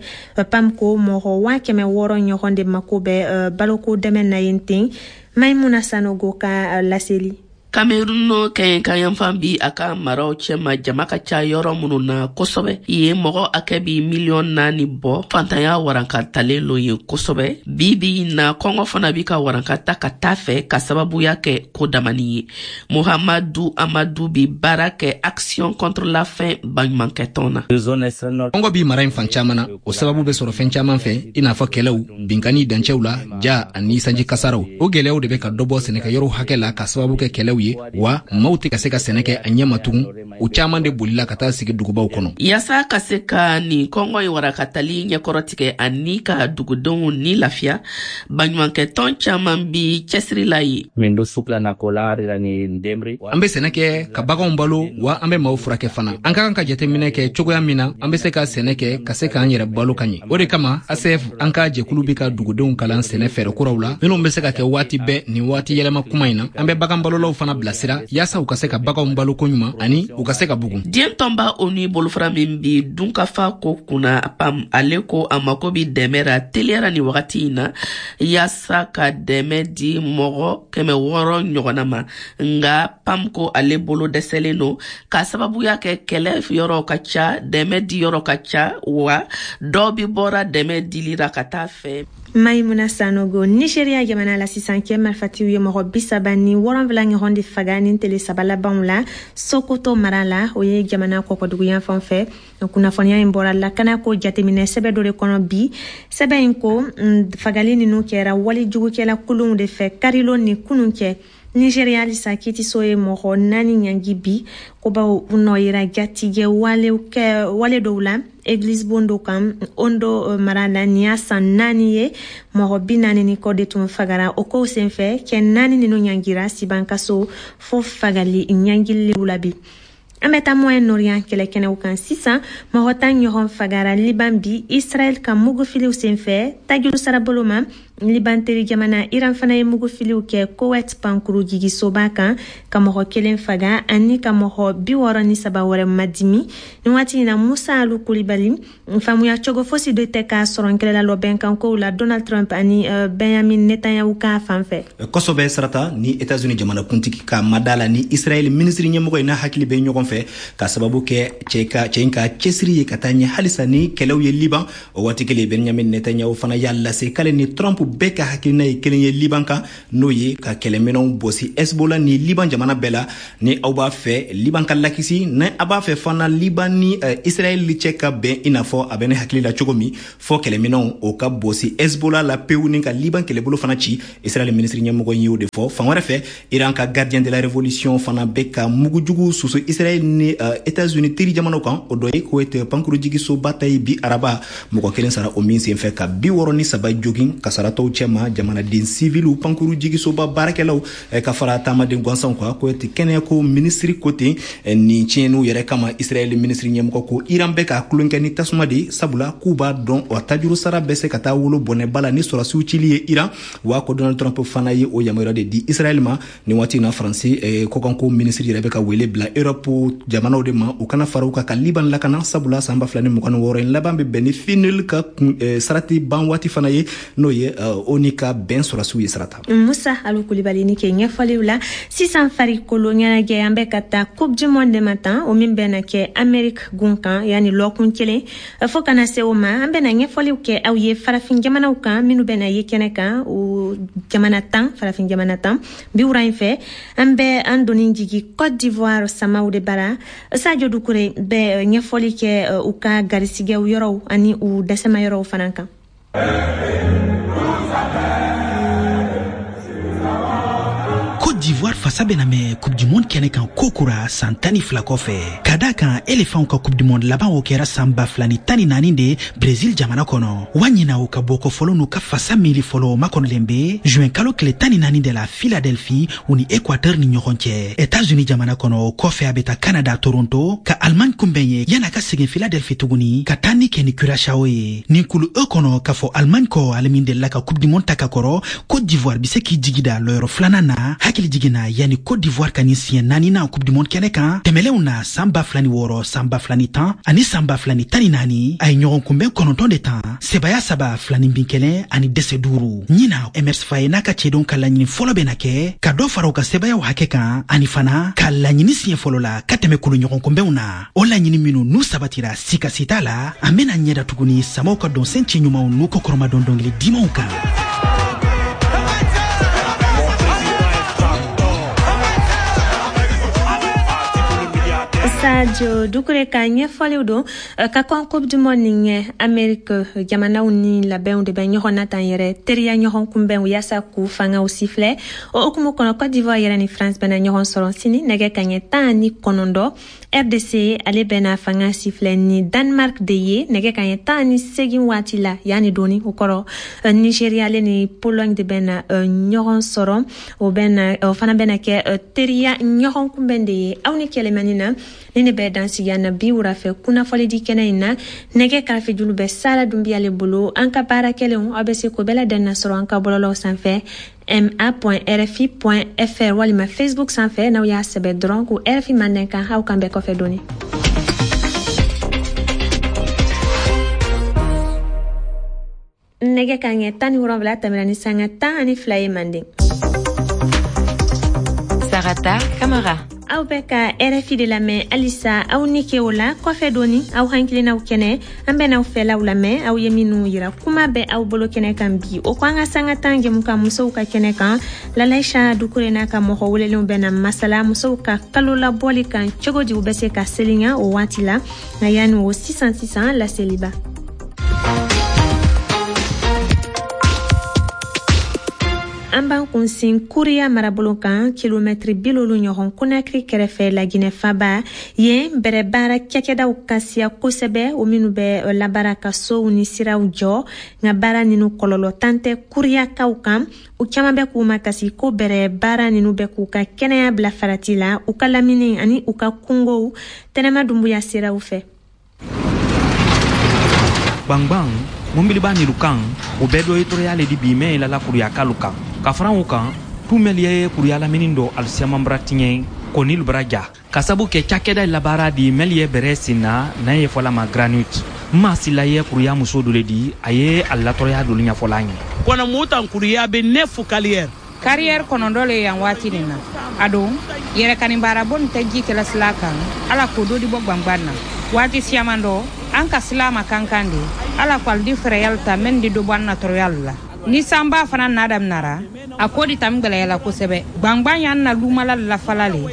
PAM ko mɔgɔ 600,000 ɲɔgɔn de mako bɛ baloko dɛmɛ na yen ten. Maimuna Sanogo ka laseli. Kamerun kɛɲɛka yanfan bi a ka maraw cɛma, jama ka ca yɔrɔ minnu na kosɛbɛ. Yen mɔgɔ hakɛ bi miliyɔn 4 bɔ. Fantanya waranka talen lo yen kosɛbɛ bi bi na. Kɔngɔ fana bi ka waranka ta ka taa fɛ ka sababuya kɛ ko damani ye. Muhamadu Amadu bi baara kɛ Action contre la faim baɲumankɛtɔn na. Kɔngɔ bi mara in fan caman na. O sababu bɛ sɔrɔ fɛn caman fɛ, i n'a fɔ kɛlɛw, binkani dancɛw la, ja ani sanji kasaraw. O gwɛlɛyaw de bɛ ka dɔ bɔ sɛnɛkɛyɔrɔw hakɛ la ka sababu kɛ kɛlɛw ye, wa maaw tɛ ka se ka sɛnɛ kɛ a ɲɛ ma tugun. U caaman de bolila ka taa sigi dugubaw kɔnɔ. Yaasa ka se ka nin kɔngɔ in warakatali ɲɛkɔrɔtigɛ ani ka dugudenw ni lafiya, baɲumankɛtɔn caaman bi cɛsiri la ye. An bɛ sɛnɛ kɛ ka baganw balo, wa an bɛ maaw furakɛ fana. An ka kan ka jateminɛ kɛ cogoya min na an bɛ se ka sɛnɛ kɛ ka se k'an yɛrɛ balo ka ɲɛ. O de kama ACF, an ka jɛkulu, bɛ ka dugudenw kalan sɛnɛ fɛɛrɛ kuraw la minnu bɛ se ka kɛ waati bɛɛ nin waati yɛlɛma kuma in na. An bɛ bagan balolaw fana bilasira yaasa u ka se ka baganw balo koɲuman ani u ka se ka bugun. Diɲɛ tɔnba ONU bolofara min bi dunkafa ko kunna, PAM, ale ko a mako bi dɛmɛ ra teliyara ni wagati in na yaasa ka dɛmɛ di mɔgɔ 600 ɲɔgɔnna ma. Nga PAM ko ale bolo dɛsɛlen don k'a sababuya kɛ kɛlɛ yɔrɔ ka ca, dɛmɛ di yɔrɔ ka ca, wa dɔ bi bɔra dɛmɛ dilira ka taa fɛ. Maimuna Sanogo. Nigeria jamana la sisan, kɛ marifatiw ye mɔgɔ 37 ɲɔgɔn de faga ni tele 3 labanw la Sokoto mara la, o ye jamana kɔkɔduguyan fan fɛ. Kunnafoniya in bɔra lakanako jateminɛ sɛbɛ dɔ de kɔnɔ bi. Sɛbɛn in ko fagali ninnu kɛra walijugukɛla kulunw de fɛ karilon ni kunun cɛ. Nigeria halisa, kiitiso ye mɔgɔ 4 ɲangi bi ko bawo u nɔ yira jatigɛ wale dɔw la église bon dɔ kan Ondo mara la. Nin y'a san 4 ye, mɔgɔ 40 ni kɔ de tun fagara o kow senfɛ. Cɛ 4 ninnu ɲangira sibankaso fo fagali ɲangiliw la bi. An bɛ taa Moyen Orient kɛlɛkɛnɛw kan sisan. Mɔgɔ 10 ɲɔgɔn fagara Liban bi Israɛl ka mugufiliw senfɛ tajuru sarabolo ma. Liban teri jamana Iran fana ye mugufiliw kɛ Kowet pankuru jigisoba kan ka mɔgɔ kelen faga ani ka mɔgɔ 63 wɛrɛ madimi nin waati in na. Musa Alu Kulibali, faamuya cogo fosi de tɛ k'a sɔrɔ kɛlɛla lɔbɛnkankow la Donald Trump ani Benjamin Netanyahu ka fan fɛ. Kosɛbɛ Sarata, ni Etats-Unis jamanakuntigi ka mada la ni Israɛl minisiri ɲɛmɔgɔ ye n'a hakili bɛ ɲɔgɔn fɛ, ka sababu kɛ cɛ ka cɛ in ka cɛsiri ye ka taa ɲɛ halisa ni kɛlɛw ye Liban. O waati kelen, Benjamin Netanyahu fana y'a lase k'ale ni Trump bɛɛ ka hakilina ye kelen ye Liban kan, n'o ye ka kɛlɛminɛnw bɔsi Hezbollah ni Liban jamana bɛɛ la. Ni aw b'a fɛ Liban ka lakisi, ni a b'a fɛ fana Liban ni Israɛl cɛ ka bɛn i n'a fɔ a bɛ ne hakili la cogo min, fɔ kɛlɛminɛnw o ka bɔsi Hezbollah la pewu ni ka Liban kɛlɛbolo fana ci. Israɛl minisiri ɲɛmɔgɔ y'o de fɔ. Fan wɛrɛ fɛ, Iran ka Gardien de la Révolution fana bɛ ka mugujugu susu Israɛl ni États-Unis teri jamanaw kan. O dɔ ye Kuwait pankurujigisoba ta ye bi araba, mɔgɔ kelen sara o min senfɛ ka 63 jogin. Kasaratɔw cɛma, jamanaden siviliw, pankurujigisoba baarakɛlaw ka fara taamaden gansanw kan. Kuwait kɛnɛyako minisiri ko ten nin tiɲɛniw yɛrɛ kama, Israɛl minisiri ɲɛmɔgɔ ko Iran bɛ ka tulonkɛ ni tasuma de, sabula k'u b'a dɔn o tajuru sara bɛ se ka taa wolo bɔnɛba la ni sɔrɔsiw cili ye Iran. Wa ko Donald Trump fana ye o yamaruya de di Israɛl ma. Nin waati in na, Faransi kɔkanko minisiri yɛrɛ bɛ ka wele bila Europe jamanaw de ma u kana fara u kan ka Liban lakana, sabula san 2026 in laban bɛ bɛn ni FINUL ka sarati ban waati fana ye, n'o ye ONU ka bɛn sɔrɔsiw ye, Sarata. Musa Alu Kulibali ni ke ɲɛfɔliw la. Sisan farikolo ɲɛnajɛ, an bɛ ka taa Coupe du monde de ma tan, o min bɛna kɛ Amérique gun kan yanni lɔkun kelen. Fo kana se o ma, an bɛna ɲɛfɔliw kɛ aw ye farafin jamanaw kan minnu bɛna ye kɛnɛ kan, o jamana 10, farafin jamana 10 bi. Wura in fɛ, an bɛ an doni jigi Côte d'Ivoire samaw de bara. Sadio Dukure bɛ ɲɛfɔli kɛ u ka garisigɛw yɔrɔw ani u dɛsɛma yɔrɔw fana kan. Côte d'Ivoire fasa bɛna mɛn Coupe du Monde kɛnɛ kan kokura san 12 kɔfɛ, ka da kan éléphantw ka Coupe du Monde laban o kɛra san 2014 de Brésil jamana kɔnɔ. Wa ɲina o ka bɔkɔ fɔlɔ n'u ka fasa miiri fɔlɔ o makɔnɔlen be juin kalo tile 14 de la Philadelphie, u ni Équateur ni ɲɔgɔn cɛ, États-Unis jamana kɔnɔ. O kɔfɛ a bɛ taa Canada Toronto ka Allemagne kunbɛn ye yan'a ka segin Philadelphie tuguni ka taa ni kɛ ni Curaçao ye. Nin kulu E kɔnɔ, k'a fɔ Allemagne kɔ, ale min delila ka Coupe du Monde ta ka kɔrɔ, Côte d'Ivoire be se k'i jigi da lɔyɔrɔ filanan na. Hakili jiginna, yanni Côte d'Ivoire ka nin siɲɛ naaninan Coupe du Monde kɛnɛ kan, tɛmɛlenw na san 2006, san 2010 ani san 2014, a ye ɲɔgɔn kunbɛn 9 de tan, sebaya 3, 2-1 ani dɛsɛ 5. Ɲina Emerse Faé n'a ka cɛdenw ka laɲini fɔlɔ bɛna kɛ ka dɔ fara u ka sebayaw hakɛ kan ani fana ka laɲini siɲɛ fɔlɔ la ka tɛmɛ kulu ɲɔgɔn kunbɛnw na. O laɲini minnu n'u sabatira sikasi t'a la, an bɛna ɲɛda tuguni samaw ka dɔnsen ci ɲumanw n'u kɔkɔrɔmadɔn dɔnkili dimanw kan. Sadio Dukure ka ɲɛfɔliw don. Ka kɔn Coupe du Monde nin ɲɛ, Amérique jamanaw ni labɛnw de bɛ ɲɔgɔn na tan yɛrɛ, teriya ɲɔgɔn kunbɛnw yaasa k'u fangaw sifilɛ. O hukumu kɔnɔ, Côte d'Ivoire yɛrɛ ni France bɛna ɲɔgɔn sɔrɔ sini nɛgɛ kaɲɛ 19. RDC ale bɛna fanga sifilɛ ni Danemark de ye nɛgɛ kaɲɛ 18 waati la yanni doni. O kɔrɔ, Nigeria ale ni Pologne de bɛna ɲɔgɔn sɔrɔ, o bɛna o fana bɛna kɛ teriya ɲɔgɔn kunbɛn de ye. Aw ni kɛlɛmani na ni ne bɛ dansigi na bi wura fɛ kunnafoni di kɛnɛ in na. Nɛgɛ karafejulu bɛ Sara Dunbiyale bolo. An ka baara kɛlenw, aw bɛ se k'o bɛɛ ladɛn sɔrɔ an ka bɔlɔlɔw sanfɛ ma.rfi.fr walima Facebook sanfɛ, n'aw y'a sɛbɛn dɔrɔn ko RFI Mandenkan. Aw kan bɛɛ kɔfɛ dɔɔni. Nɛgɛ ka ɲɛ 17 tɛmɛna ni sanga 12 ye Manden. Sarata Kamara. Aw bɛ ka RFI de lamɛn halisa. Aw ni ke o la kɔfɛ dɔɔni, aw hakilinaw kɛnɛ, an bɛn'aw fɛlaw lamɛn, aw ye minnu yira. Kuma bɛ aw bolo kɛnɛ kan bi, o ko an ka sanga tan jɛmukan musow ka kɛnɛ kan, Lalaisa Dukure n'a ka mɔgɔ welelenw bɛna masala musow ka kalo labɔli kan, cogo di u bɛ se ka selinya o waati la. Nka yanni o, sisan sisan, laseliba. An b'an kunsin Kuriya marabolo kan, kilomɛtiri 50 ɲɔgɔn Konakiri kɛrɛfɛ, Laginɛ faba. Yen bɛrɛ baara cakɛdaw ka siya kosɛbɛ, o minnu bɛ labaara ka sow ni siraw jɔ. Nka baara ninu kɔlɔlɔ tan tɛ Kuriyakaw kan. U caman bɛ k'u makasi ko bɛrɛ baara ninu bɛ k'u ka kɛnɛya bila farati la, u ka lamini ani u ka kungow. Tɛnɛma Dunbuya siraw fɛ. Gbangban mɔbiliba nilu kan, o bɛɛ dɔ ye tɔɔrɔya le di bi mɛn yɛlɛla kuruyakalu kan. Ka fara o kan, tumɛli ye kuruya lamini dɔ alisiyaman bara tiɲɛ kɔnilu bara ja ka sabu kɛ cakɛda labaara di mɛli ye bɛrɛ sen na n'a ye fɔla ma granite. Ma sila ye kuruya muso dɔ le di, a ye a latɔrɔya dolu ɲɛfɔla an ye. Kɔnɔ mutan kuruya bɛ ne fu carrière. Carrière kɔnɔntɔn le yan waati nin na. A don yɛrɛkani baarabo nin tɛ ji kɛla sila kan, ala ko dɔ di bɔ gwangwan na. Waati siyaman dɔ an ka sila ma kankan de, ala ko ali di fɛrɛyali ta mɛn di dɔ bɔ an na tɔrɔyali la. Ni sanba fana na daminara, a ko di tami gwɛlɛyala kosɛbɛ. Gwangwan y'an na lumala lafala le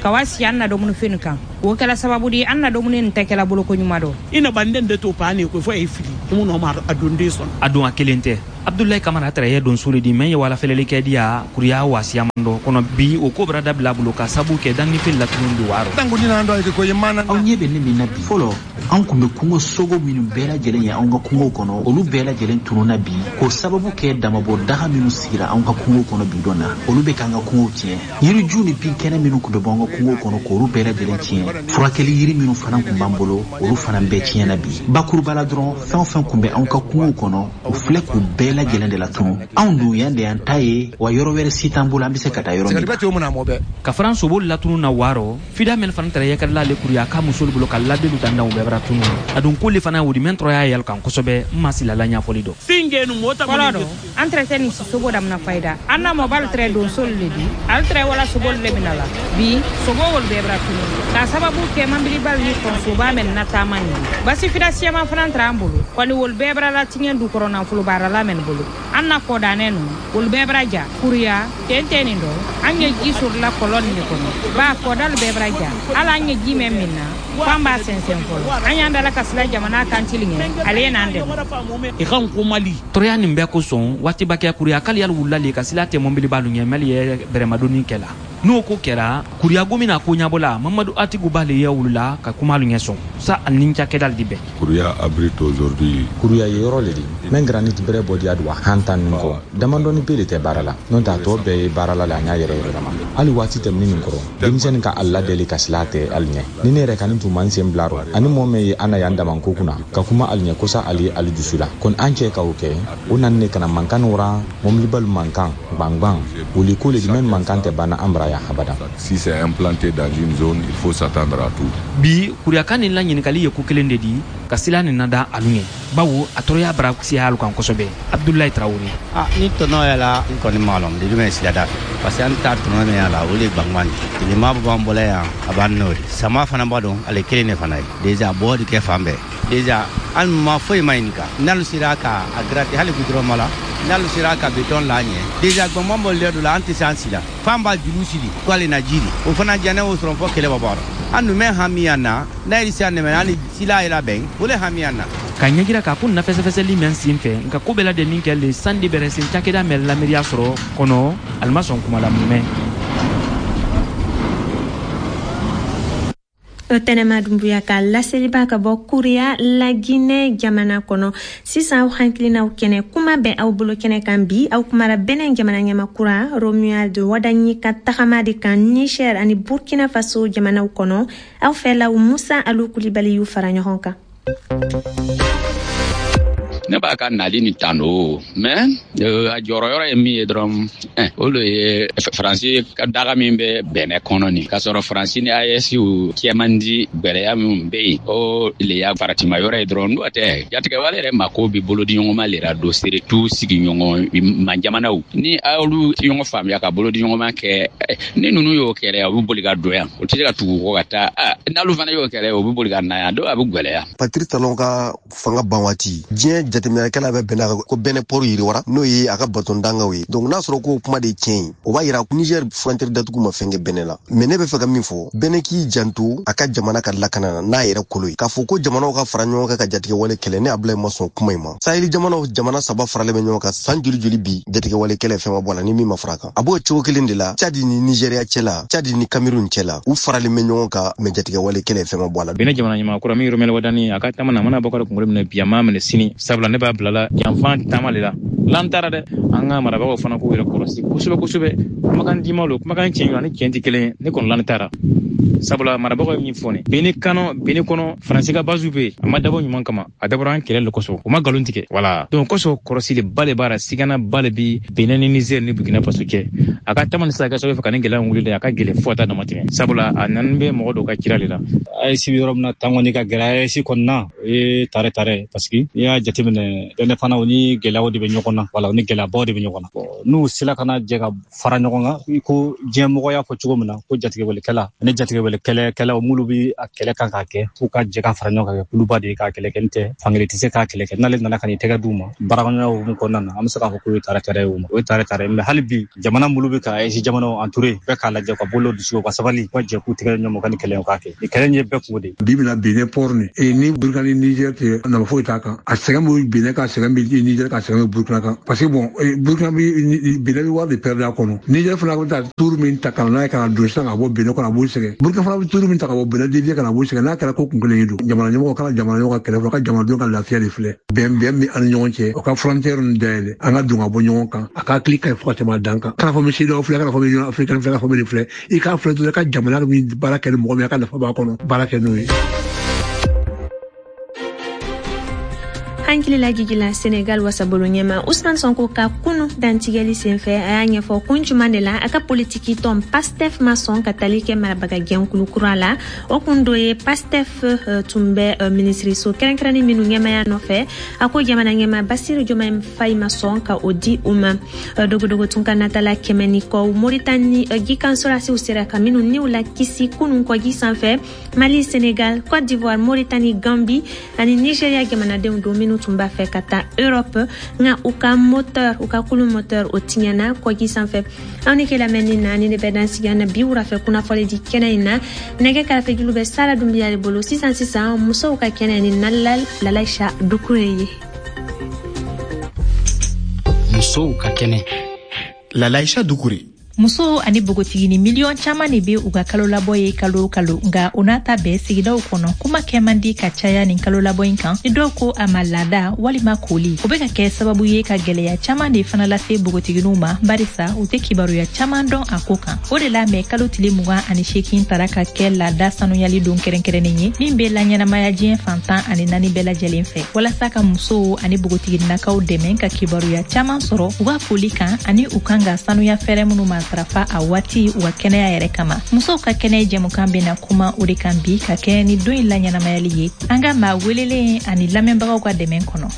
ka wa si an na dumunifɛn kan. O kɛla sababu di an na dumuni nin tɛ kɛla boloko ɲuman dɔ. I na banden de to pa ne ko fo e fili mun ma a don den sɔn. A don a kelen tɛ. Abdulayi Kamara tɛrɛ ye donso le di mɛn ye wala fɛlɛli kɛ diya kuruya wasiyaman dɔ kɔnɔ bi, o ko bara dabila bolo ka sabu kɛ dannifɛn latunu di waro. Aw ɲɛ bɛ ne min na bi, fɔlɔ an kun bɛ kungo sogo minnu bɛɛ lajɛlen ye anw ka kungo kɔnɔ, olu bɛɛ lajɛlen tununna bi k'o sababu kɛ damabɔ daga minnu sigira anw ka kungo kɔnɔ bi dɔn na, olu bɛ k'an ka kungow tiɲɛ. Yiriju ni binkɛnɛ minnu kun bɛ bɔ an ka kungo kɔnɔ, k'olu bɛɛ lajɛlen tiɲɛ. Furakɛli yiri minnu fana kun b'an bolo, olu fana bɛɛ tiɲɛna bi. Bakuruba la dɔrɔn, fɛn o fɛn kun bɛ anw ka kungo kɔnɔ, u filɛ k'u bɛɛ lajɛlen de latunu. Anw dun yan de y'an ta ye, wa yɔrɔ wɛrɛ si t'an bolo an bɛ se ka taa yɔrɔ min. Ka fara sobo latunu na waarɔ fida mɛn fana tɛrɛ yɛkɛrɛla ale kuruya ka musolu bolo ka ladelu dandanw bɛɛ bara tunu. A dun k'olu fana wodi mɛn tɔrɔya yɛlɛ kan kosɛbɛ, n ma silala ɲɛfɔli dɔ. Fɔlɔ dɔ an tɛrɛ tɛ nin sobo damina fayida, an na mɔbali tɛrɛ donsolu le di, ale tɛrɛ wala sobolu le mina la. Bi sobo wolu bɛɛ bara tunu k'a sababu kɛ manbilibali ni kɔnsoba mɛn na taama nin ye. Basi fida siyaman fana tɛrɛ an bolo kɔni, wolu bɛɛ bara latiɲɛ du kɔrɔ nafolo baarala mɛn bolo. An na kɔdanɛ nu wolu bɛɛ bara ja kuruya tɛntɛn nin dɔ, an ye ji sɔrɔla kɔlɔn nin de kɔnɔ ba kɔdalu bɛɛ bara ja. Hali an ye ji mɛn min na f'an b'a sɛnsɛn fɔlɔ. An y'an dala ka sila jamana kan tili ɲɛ, ale ye n'an dɛmɛ. I kan ko Mali. Tɔrɔya nin bɛɛ kosɔn, waatiba kɛ kuruya k'ale yali wulila le ka sila tɛ mɔbilibalu ɲɛ mɛli ye bɛrɛmadonni kɛ la. N'o ko kɛra kuruya gomi na ko ɲabɔla Mamadu Atiku b'ale ye wulila ka kumalu ɲɛ sɔn sa ani ni cakɛdali di bɛn. Kuruya abrite aujourd'hui. Kuruya ye yɔrɔ le di mɛn granite bɛrɛ bɔ diya wa han tan nin kɔ damadɔni pe de tɛ baara la, n'o tɛ a tɔ bɛɛ ye baarala le a ɲa yɛrɛ yɛrɛ ma. Hali waati tɛmɛni nin kɔrɔ, denmisɛnnin ka a ladeli ka sila tɛ ali ɲɛ. Ni ne yɛrɛ kani tun man sen bila rɔ ani mɔɔ mɛn ye an na yan damanko kunna ka kuma ali ɲɛ kosa ali ye ali dusu la kɔni, an cɛ ka o kɛ o nani ne kana mankan wara mɔbilibalu mankan gwangwan wuli ko le di mɛn mankan tɛ banna an bara yan habada. Si c'est implanté dans une zone, il faut s'attendre à tout. Bi kuruyaka nin la ɲininkali ye ko kelen de di ka sila nin nada alu ɲɛ, bawo a tɔɔrɔya bara siya alu kan kosɛbɛ. Abdulayi Tarawele. Ah, ni tɔnɔ yɛlɛ n kɔni m'a lɔn de jumɛn sila da fɛ, parce que an ta tɔnɔ min y'a la, o de gwangwan di tilema b'an bɔla yan a b'an n'o de sama fana b'a dɔn, ale kelen de fana ye déjà bɔ de kɛ fan bɛɛ. Déjà an ma foyi ma ɲininka n'alu sera ka a gratter hali goudron ma la, n'alu sera ka béton la ɲɛ. Déjà gwangwan bɔ lɛ dɔ la, an tɛ se an si la f'an b'a juru siri ko ale na ji di o fana diya ne y'o sɔrɔ fɔ kɛlɛ bɔ bɔ an dun bɛ hami yan na n'a yɛrɛ se an dɛmɛ an ni sila yɛrɛ bɛn o le hami yan na. Ka ɲɛjira k'a ko na fɛsɛfɛsɛli mɛn sen fɛ nka ko bɛɛ ladɛnnin kɛ le sandi bɛrɛ sen cakɛda mɛn lamiriya sɔrɔ kɔnɔ ali ma sɔn kuma la mumɛ. Tɛnɛma Dunbuya ka laseliba ka bɔ Kuriya, Laginɛ jamana kɔnɔ. Sisan aw hakilinaw kɛnɛ, kuma bɛ aw bolo kɛnɛ kan bi, aw kumara Bɛnɛ jamana ɲɛma kura Romuald Wadagni ka tagama de kan Niger ani Burkina Faso jamanaw kɔnɔ. Aw fɛlaw, Musa Alu Kulibali y'u fara ɲɔgɔn kan. Ne b'a ka nali nin tanu, mais a jɔrɔyɔrɔ ye min ye dɔrɔn, o le ye Faransi ka daga min bɛ Bɛnɛ kɔnɔ nin, k'a sɔrɔ Faransi ni AES cɛ man di, gwɛlɛya min bɛ yen, o le y'a faratima yɔrɔ ye dɔrɔn. N'o tɛ, jatigɛwale yɛrɛ mako bɛ bolodiɲɔgɔnma le ra don, surtout sigiɲɔgɔn ma jamanaw ni olu tɛ ɲɔgɔn faamuya ka bolodiɲɔgɔnma kɛ. Ni ninnu y'o kɛlɛ, u bɛ boli ka don yan, o tɛ se ka tugu kɔ ka taa. N'olu fana y'o kɛlɛ, u bɛ boli ka na yan, dɔw a bɛ gwɛlɛya. Patrice Talon ka fanga ban waati, diɲɛ jateminɛkɛla bɛ bɛnna ko Bɛnɛ port yiriwara, n'o ye a ka baton dangaw ye. Donc n'a sɔrɔ ko kuma de ye tiɲɛ ye, o b'a yira Niger frontière datugu ma fɛn kɛ Bɛnɛ la. Mais ne bɛ fɛ ka min fɔ, Bɛnɛ k'i janto a ka jamana ka lakana na n'a yɛrɛ kolo ye. K'a fɔ ko jamanaw ka fara ɲɔgɔn kan ka jatigɛwale kɛlɛ, ne Abulayi ma sɔn kuma in ma. Saheli jamanaw, jamana 3 faralen bɛ ɲɔgɔn kan san joli joli bi, jatigɛwale kɛlɛ fɛn ma bɔ a la ni min ma fara kan. A b'o cogo kelen de la Tchad ni Nigeria cɛ la, Tchad ni Cameroun cɛ la, u faralen bɛ ɲɔgɔn kan, mais jatigɛwale kɛlɛ fɛn ma bɔ a la. Bɛnɛ jamana ɲɛmaa kura min Romɛl Wadani, a ka taama na, a mana bɔ ka kunkolo minɛ bi, a m'a minɛ sini, sabula ne b'a bilala janfan taama le la l'an taara dɛ. An ka marabagaw fana k'u yɛrɛ kɔlɔsi kosɛbɛ kosɛbɛ. Kumakan dima lo, kumakan tiɲɛ ani tiɲɛ tɛ kelen ye. Ne kɔni l'an taara, sabula marabagaw ye min fɔ nin Bɛnɛ kɔnɔ, Bɛnɛ kɔnɔ Faransi ka base bɛ yen, a ma dabɔ ɲuman kama, a dabɔra an kɛlɛ le kosɔn, u ma nkalon tigɛ. Wala donc kosɔn kɔlɔsili ba le b'a la, sigana ba le bi Benin ni Niger ni Burkina Faso cɛ. A ka taama ni sisan kɛ sababu fɛ ka ni gɛlɛya wuli dɛ, a ka gɛlɛn fo ka taa dama tɛmɛ, sabula a nani bɛ mɔgɔ dɔw ka cira le la. AES bɛ yɔrɔ min na tan kɔni ka gɛlɛn AES kɔnɔna, o ye tare tare, parce que n'i y'a jateminɛ, Bɛnɛ fana, o ni gɛlɛyaw de bɛ ɲɔgɔn na. Wala o ni gɛlɛyabaw de bɛ ɲɔgɔn na. N'u sera ka na jɛ ka fara ɲɔgɔn kan, i ko diɲɛmɔgɔ y'a fɔ cogo min na ko jatigɛwalekɛla ani jatigɛwalekɛlɛkɛlaw minnu bɛ a kɛlɛ kan k'a kɛ, f'u ka jɛ ka fara ɲɔgɔn kan kɛ kuluba de ye k'a kɛlɛ kɛ. N tɛ fankelen tɛ se k'a kɛlɛ kɛ. N'ale nana ka n'i tɛgɛ d'u ma baarakɛɲɔgɔnya hukumu kɔnɔna na, an bɛ se k'a fɔ k'o ye tare tare ye, o ma o ye tare tare. Mais hali bi, jamana minnu bɛ ka AES jamanaw entouré bɛɛ k'a lajɛ ka bolo dusu ka sabali, u ka jɛ k'u tɛgɛ ɲɔgɔn ma ka nin kɛlɛ in k'a kɛ. Nin kɛlɛ in ye bɛɛ kungo de ye. Bi bɛna Benin port ni ni Burkina ni Niger tɛ, nafa foyi t'a kan. A sɛgɛn bɛ Benin kan, sɛgɛn bɛ Niger kan, sɛgɛn bɛ Burkina kan, parce que bon, Burkina bɛ, Benin bɛ wari de perdre a kɔnɔ. Niger fana bɛ taa turu min ta ka na n'a ye ka na don sisan ka bɔ Benin kɔnɔ, a b'o sɛgɛn. Burkina fana bɛ turu min ta ka bɔ Benin dévier ka na, b'o sɛgɛn. N'a kɛra ko kun kelen ye don, jamana ɲɛmɔgɔ kana jamana ɲɛmɔgɔ ka kɛlɛ fɔlɔ, ka jamanadenw ka lafiya de filɛ. Bɛn bɛn bɛ an ni ɲɔgɔn cɛ, o ka frontière ninnu dayɛlɛ, an ka don ka bɔ ɲɔgɔn kan. A ka hakili ka ɲi fo ka tɛmɛ a dan kan. Kana fɔ n bɛ CEDEAO filɛ, kana fɔ n bɛ Union africaine filɛ, kana fɔ n bɛ nin filɛ. I k'a filɛ dɔrɔn, i ka jamana min baara kɛ ni mɔgɔ min, a ka nafa b'a kɔnɔ, baara kɛ n'o ye. Hankili lajigila Senegal wasabolo ɲɛma Usman Sonko ka kunu dantigɛli senfɛ, a y'a ɲɛfɔ kun juman de la a ka politiki tɔn Pastef ma sɔn ka tali kɛ marabaga jɛnkulu kura la. O kun dɔ ye Pastef tun bɛ minisiriso kɛrɛnkɛrɛnnin minnu ɲɛmaya nɔfɛ, a ko jamana ɲɛma Basiru Jomayi Fayi ma sɔn ka o di u ma. Dogodogo tun ka natala 100 ni kɔ, Moritani jikan sɔrasiw sera ka minnu niw la kisi kunun kɔji sanfɛ. Mali, Senegal, Côte d'Ivoire, Moritani, Gambi ani Nigeria jamanadenw don minnu tun b'a fɛ ka taa Europe, nka u ka moteur, u ka kulu moteur o tiɲɛna kɔji sanfɛ. Aw ni ke lamɛnni na ni ne bɛ dan sigi an na bi wurafɛ kunnafɔli di kɛnɛ in na. Nɛgɛ karafejulu bɛ Sara Dunbiya de bolo. Sisan sisan, musow ka kɛnɛ ni Nalal Lalaisa Dukure ye. Musow ka kɛnɛ, Lalaisa Dukure. Musow ani bogotigini miliyɔn caman de be u ka kalolabɔ ye kalo o kalo, nka o n'a ta bɛɛ, sigidaw kɔnɔ kuma kɛ man di ka caya nin kalolabɔ in kan. Ni dɔw ko a ma laada walima koli, o be ka kɛ sababu ye ka gwɛlɛya caman de fana lase bogotiginiw ma, barisa u tɛ kibaruya caman dɔn a ko kan. O de la mɛ kalo tile 28 tara ka kɛ laada sanuyali don kɛrɛnkɛrɛnnen ye min be laɲɛnamaya diɲɛ fan 14 bɛɛ lajɛlen fɛ, walasa ka musow ani bogotigininakaw dɛmɛ ka kibaruya caman sɔrɔ u ka koli kan ani u kan ka sanuya fɛɛrɛ minnu matarafa a waati u ka kɛnɛya yɛrɛ kama. Musow ka kɛnɛ jɛmukan bena kuma o de kan bi ka kɛɲɛ ni don in laɲɛnamayali ye, an ka maa welelen ani lamɛnbagaw ka dɛmɛ kɔnɔ.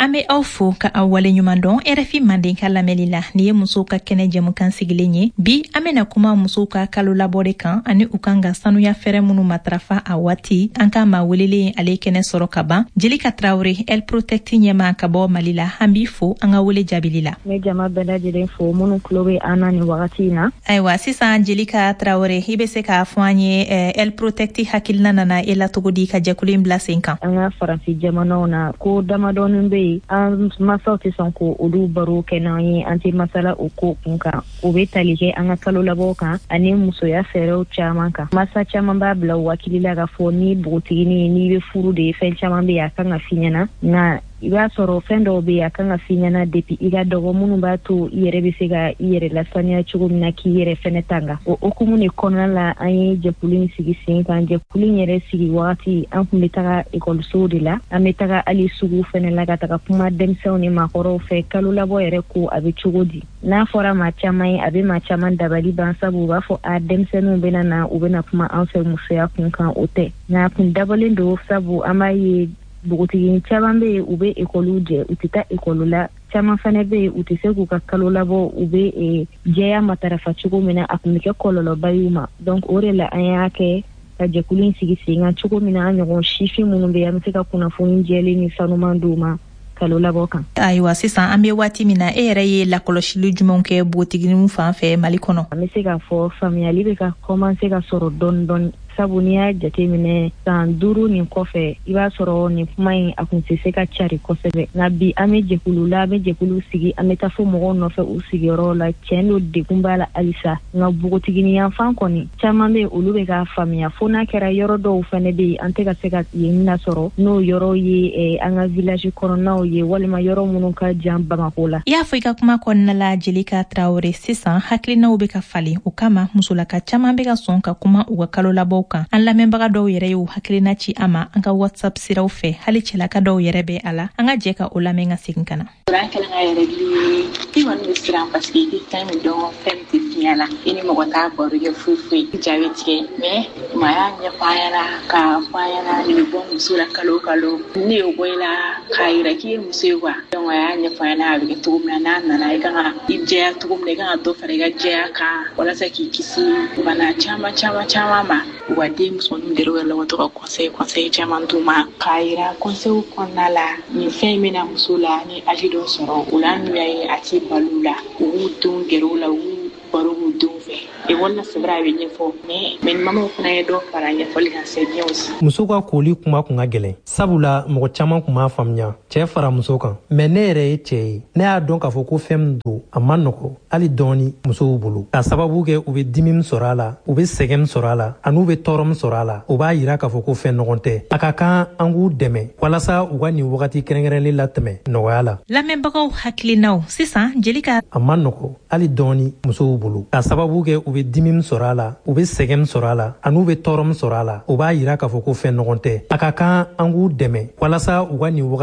An be aw fo ka aw waleɲuman dɔn RFI Manden ka lamɛnli la. Nin ye musow ka kɛnɛ jɛmukan sigilen ye. Bi an bena kuma musow ka kalo labɔ de kan ani u kan ka sanuya fɛɛrɛ minnu matarafa a waati. An ka maa welelen, ale kɛnɛ sɔrɔ ka ban, Jelika Tarawure, El Protect ɲɛma ka bɔ Mali la. An b'i fo an ka wele jaabili la. Ne jama bɛɛ lajɛlen fo minnu tulo bɛ an na nin wagati in na. Ayiwa, sisan Jelika Tarawure, i be se k'a fɔ an ye El Protect hakilina nana e la cogo di ka jɛkulu in bila sen kan? An ka Faransi jamanaw na, ko damadɔnin bɛ yen, an masaw tɛ sɔn ko olu baro kɛ n'an ye, an tɛ masala o ko kun kan. O bɛ tali kɛ an ka kalo labɔw kan ani musoya fɛɛrɛw caman kan. Masa caman b'a bila u hakili la k'a fɔ ni npogotiginin, n'i bɛ furu de, fɛn caman bɛ yen a kan ka f'i ɲɛna, nka I b'a sɔrɔ fɛn dɔw bɛ yen, a kan ka f'i ɲɛna depuis i ka dɔgɔ, minnu b'a to i yɛrɛ bɛ se ka i yɛrɛ lasaniya cogo min na, k'i yɛrɛ fɛnɛ tanga. O hukumu de kɔnɔna la, an ye jɛkulu in sigi sen kan. Jɛkulu in yɛrɛ sigi wagati, an kun bɛ taga ekɔlisow de la, an bɛ taga hali sugu fɛnɛ la, ka taga kuma denmisɛnw ni maakɔrɔw fɛ, kalo labɔ yɛrɛ ko a bɛ cogo di. N'a fɔra maa caman ye, a bɛ maa caman dabali ban, sabu u b'a fɔ a denmisɛnninw bɛna na, u bɛna kuma an fɛ musoya kun kan. O tɛ, nka a kun dabɔlen don, sabu an b'a ye npogotiginin caman bɛ yen, u bɛ ekɔliw jɛ, u tɛ taa ekɔli la. Caman fana bɛ yen, u tɛ se k'u ka kalo labɔ, u bɛ jɛya matarafa cogo min na, a tun bɛ kɛ kɔlɔlɔba y'u ma. Donc o de la an y'a kɛ ka jɛkulu in sigi sen kan, cogo min na an ɲɔgɔn sifin minnu bɛ yen, an bɛ se ka kunnafoni jɛlen ni sanuman d'u ma kalo labɔ kan. Ayiwa, sisan an bɛ waati min na, e yɛrɛ ye lakɔlɔsili jumɛnw kɛ npogotiginiw fan fɛ Mali kɔnɔ? An bɛ se k'a fɔ faamuyali bɛ ka commencer ka sɔrɔ dɔɔni dɔɔni, sabu n'i y'a jateminɛ san 5 nin kɔfɛ, i b'a sɔrɔ nin kuma in a kun tɛ se ka cari kosɛbɛ. Nka bi, an bɛ jɛkulu la, an bɛ jɛkulu sigi, an bɛ taa fo mɔgɔw nɔfɛ u sigiyɔrɔw la. Tiɲɛ don, degun b'a la halisa, nka npogotiginin yanfan kɔni, caman bɛ olu bɛ k'a faamuya, fo n'a kɛra yɔrɔ dɔw fɛnɛ bɛ yen, an tɛ ka se ka yen lasɔrɔ, n'o yɔrɔ ye an ka village kɔnɔnaw ye, walima yɔrɔ minnu ka jan Bamako la. I y'a fɔ i ka kuma kɔnɔna la, Jelika Tarawele, sisan hakilinaw bɛ ka falen, o kama musolaka caman bɛ ka sɔn ka kuma u ka kalo labɔw kan. An lamɛnbaga dɔw yɛrɛ y'u hakilina ci an ma an ka WhatsApp siraw fɛ, hali cɛlaka dɔw yɛrɛ bɛ a la. An ka jɛ ka o lamɛn ka segin ka na. Kuran kɛlen ka yɛrɛgili ye, i kɔni bɛ siran parce que i tɛ fɛn min dɔn, fɛn min tɛ fiɲɛ la, i ni mɔgɔ t'a baro kɛ foyi foyi, ja bɛ tigɛ. Mais maa y'a ɲɛfɔ an ɲɛna k'a fɔ an ɲɛna nin bɛ bɔ muso la kalo o kalo, ne y'o bɔ i la k'a yira k'i ye muso ye quoi. Donc a y'a ɲɛfɔ an ɲɛna a bɛ kɛ cogo min na, n'a nana i kan ka i jɛya cogo min na, i kan ka dɔ fara i ka jɛya kan walasa k'i kisi bana caman caman caman ma. U ka den musomaninw gɛrɛ u yɛrɛ la, u ka to ka conseil caman d'u ma k'a yira conseil kɔnɔna la nin fɛn in bɛna muso la ni âge dɔ sɔrɔ o la, n'u y'a ye a t'i bali u la, u b'u denw gɛrɛ u la, u b'u baro k'u denw fɛ ekɔli la. C'est vrai, a bɛ ɲɛfɔ, mais ni mamaw fana ye dɔ fara ɲɛfɔli kan, c'est bien aussi. Muso ka koli kuma kun ka gɛlɛn, sabula mɔgɔ caman kun b'a faamuya cɛɛ fara muso kan. Mais ne yɛrɛ ye cɛɛ ye, ne y'a dɔn k'a fɔ ko fɛn min don, a man nɔgɔ hali dɔɔni musow bolo, k'a sababu kɛ u be dimi min sɔrɔ a la, u be sɛgɛn min sɔrɔ a la, an'u be tɔɔrɔ min sɔrɔ a la. O b'a yira k'a fɔ ko fɛn nɔgɔn tɛ. A ka kan an k'u dɛmɛ walasa u ka nin wagati kɛrɛnkɛrɛnlen latɛmɛ nɔgɔya la. Lamɛnbagaw hakilinaw sisan, Jelika. A man nɔgɔ hali dɔɔni musow bolo, k'a sababu kɛ u be dimi min sɔrɔ a la, u be sɛgɛn min sɔrɔ a la, an'u be tɔɔrɔ min sɔrɔ a la. O b'a yira k'a fɔ ko fɛn nɔgɔn tɛ. A ka kan an k'u dɛmɛ walasa u ka nin wagati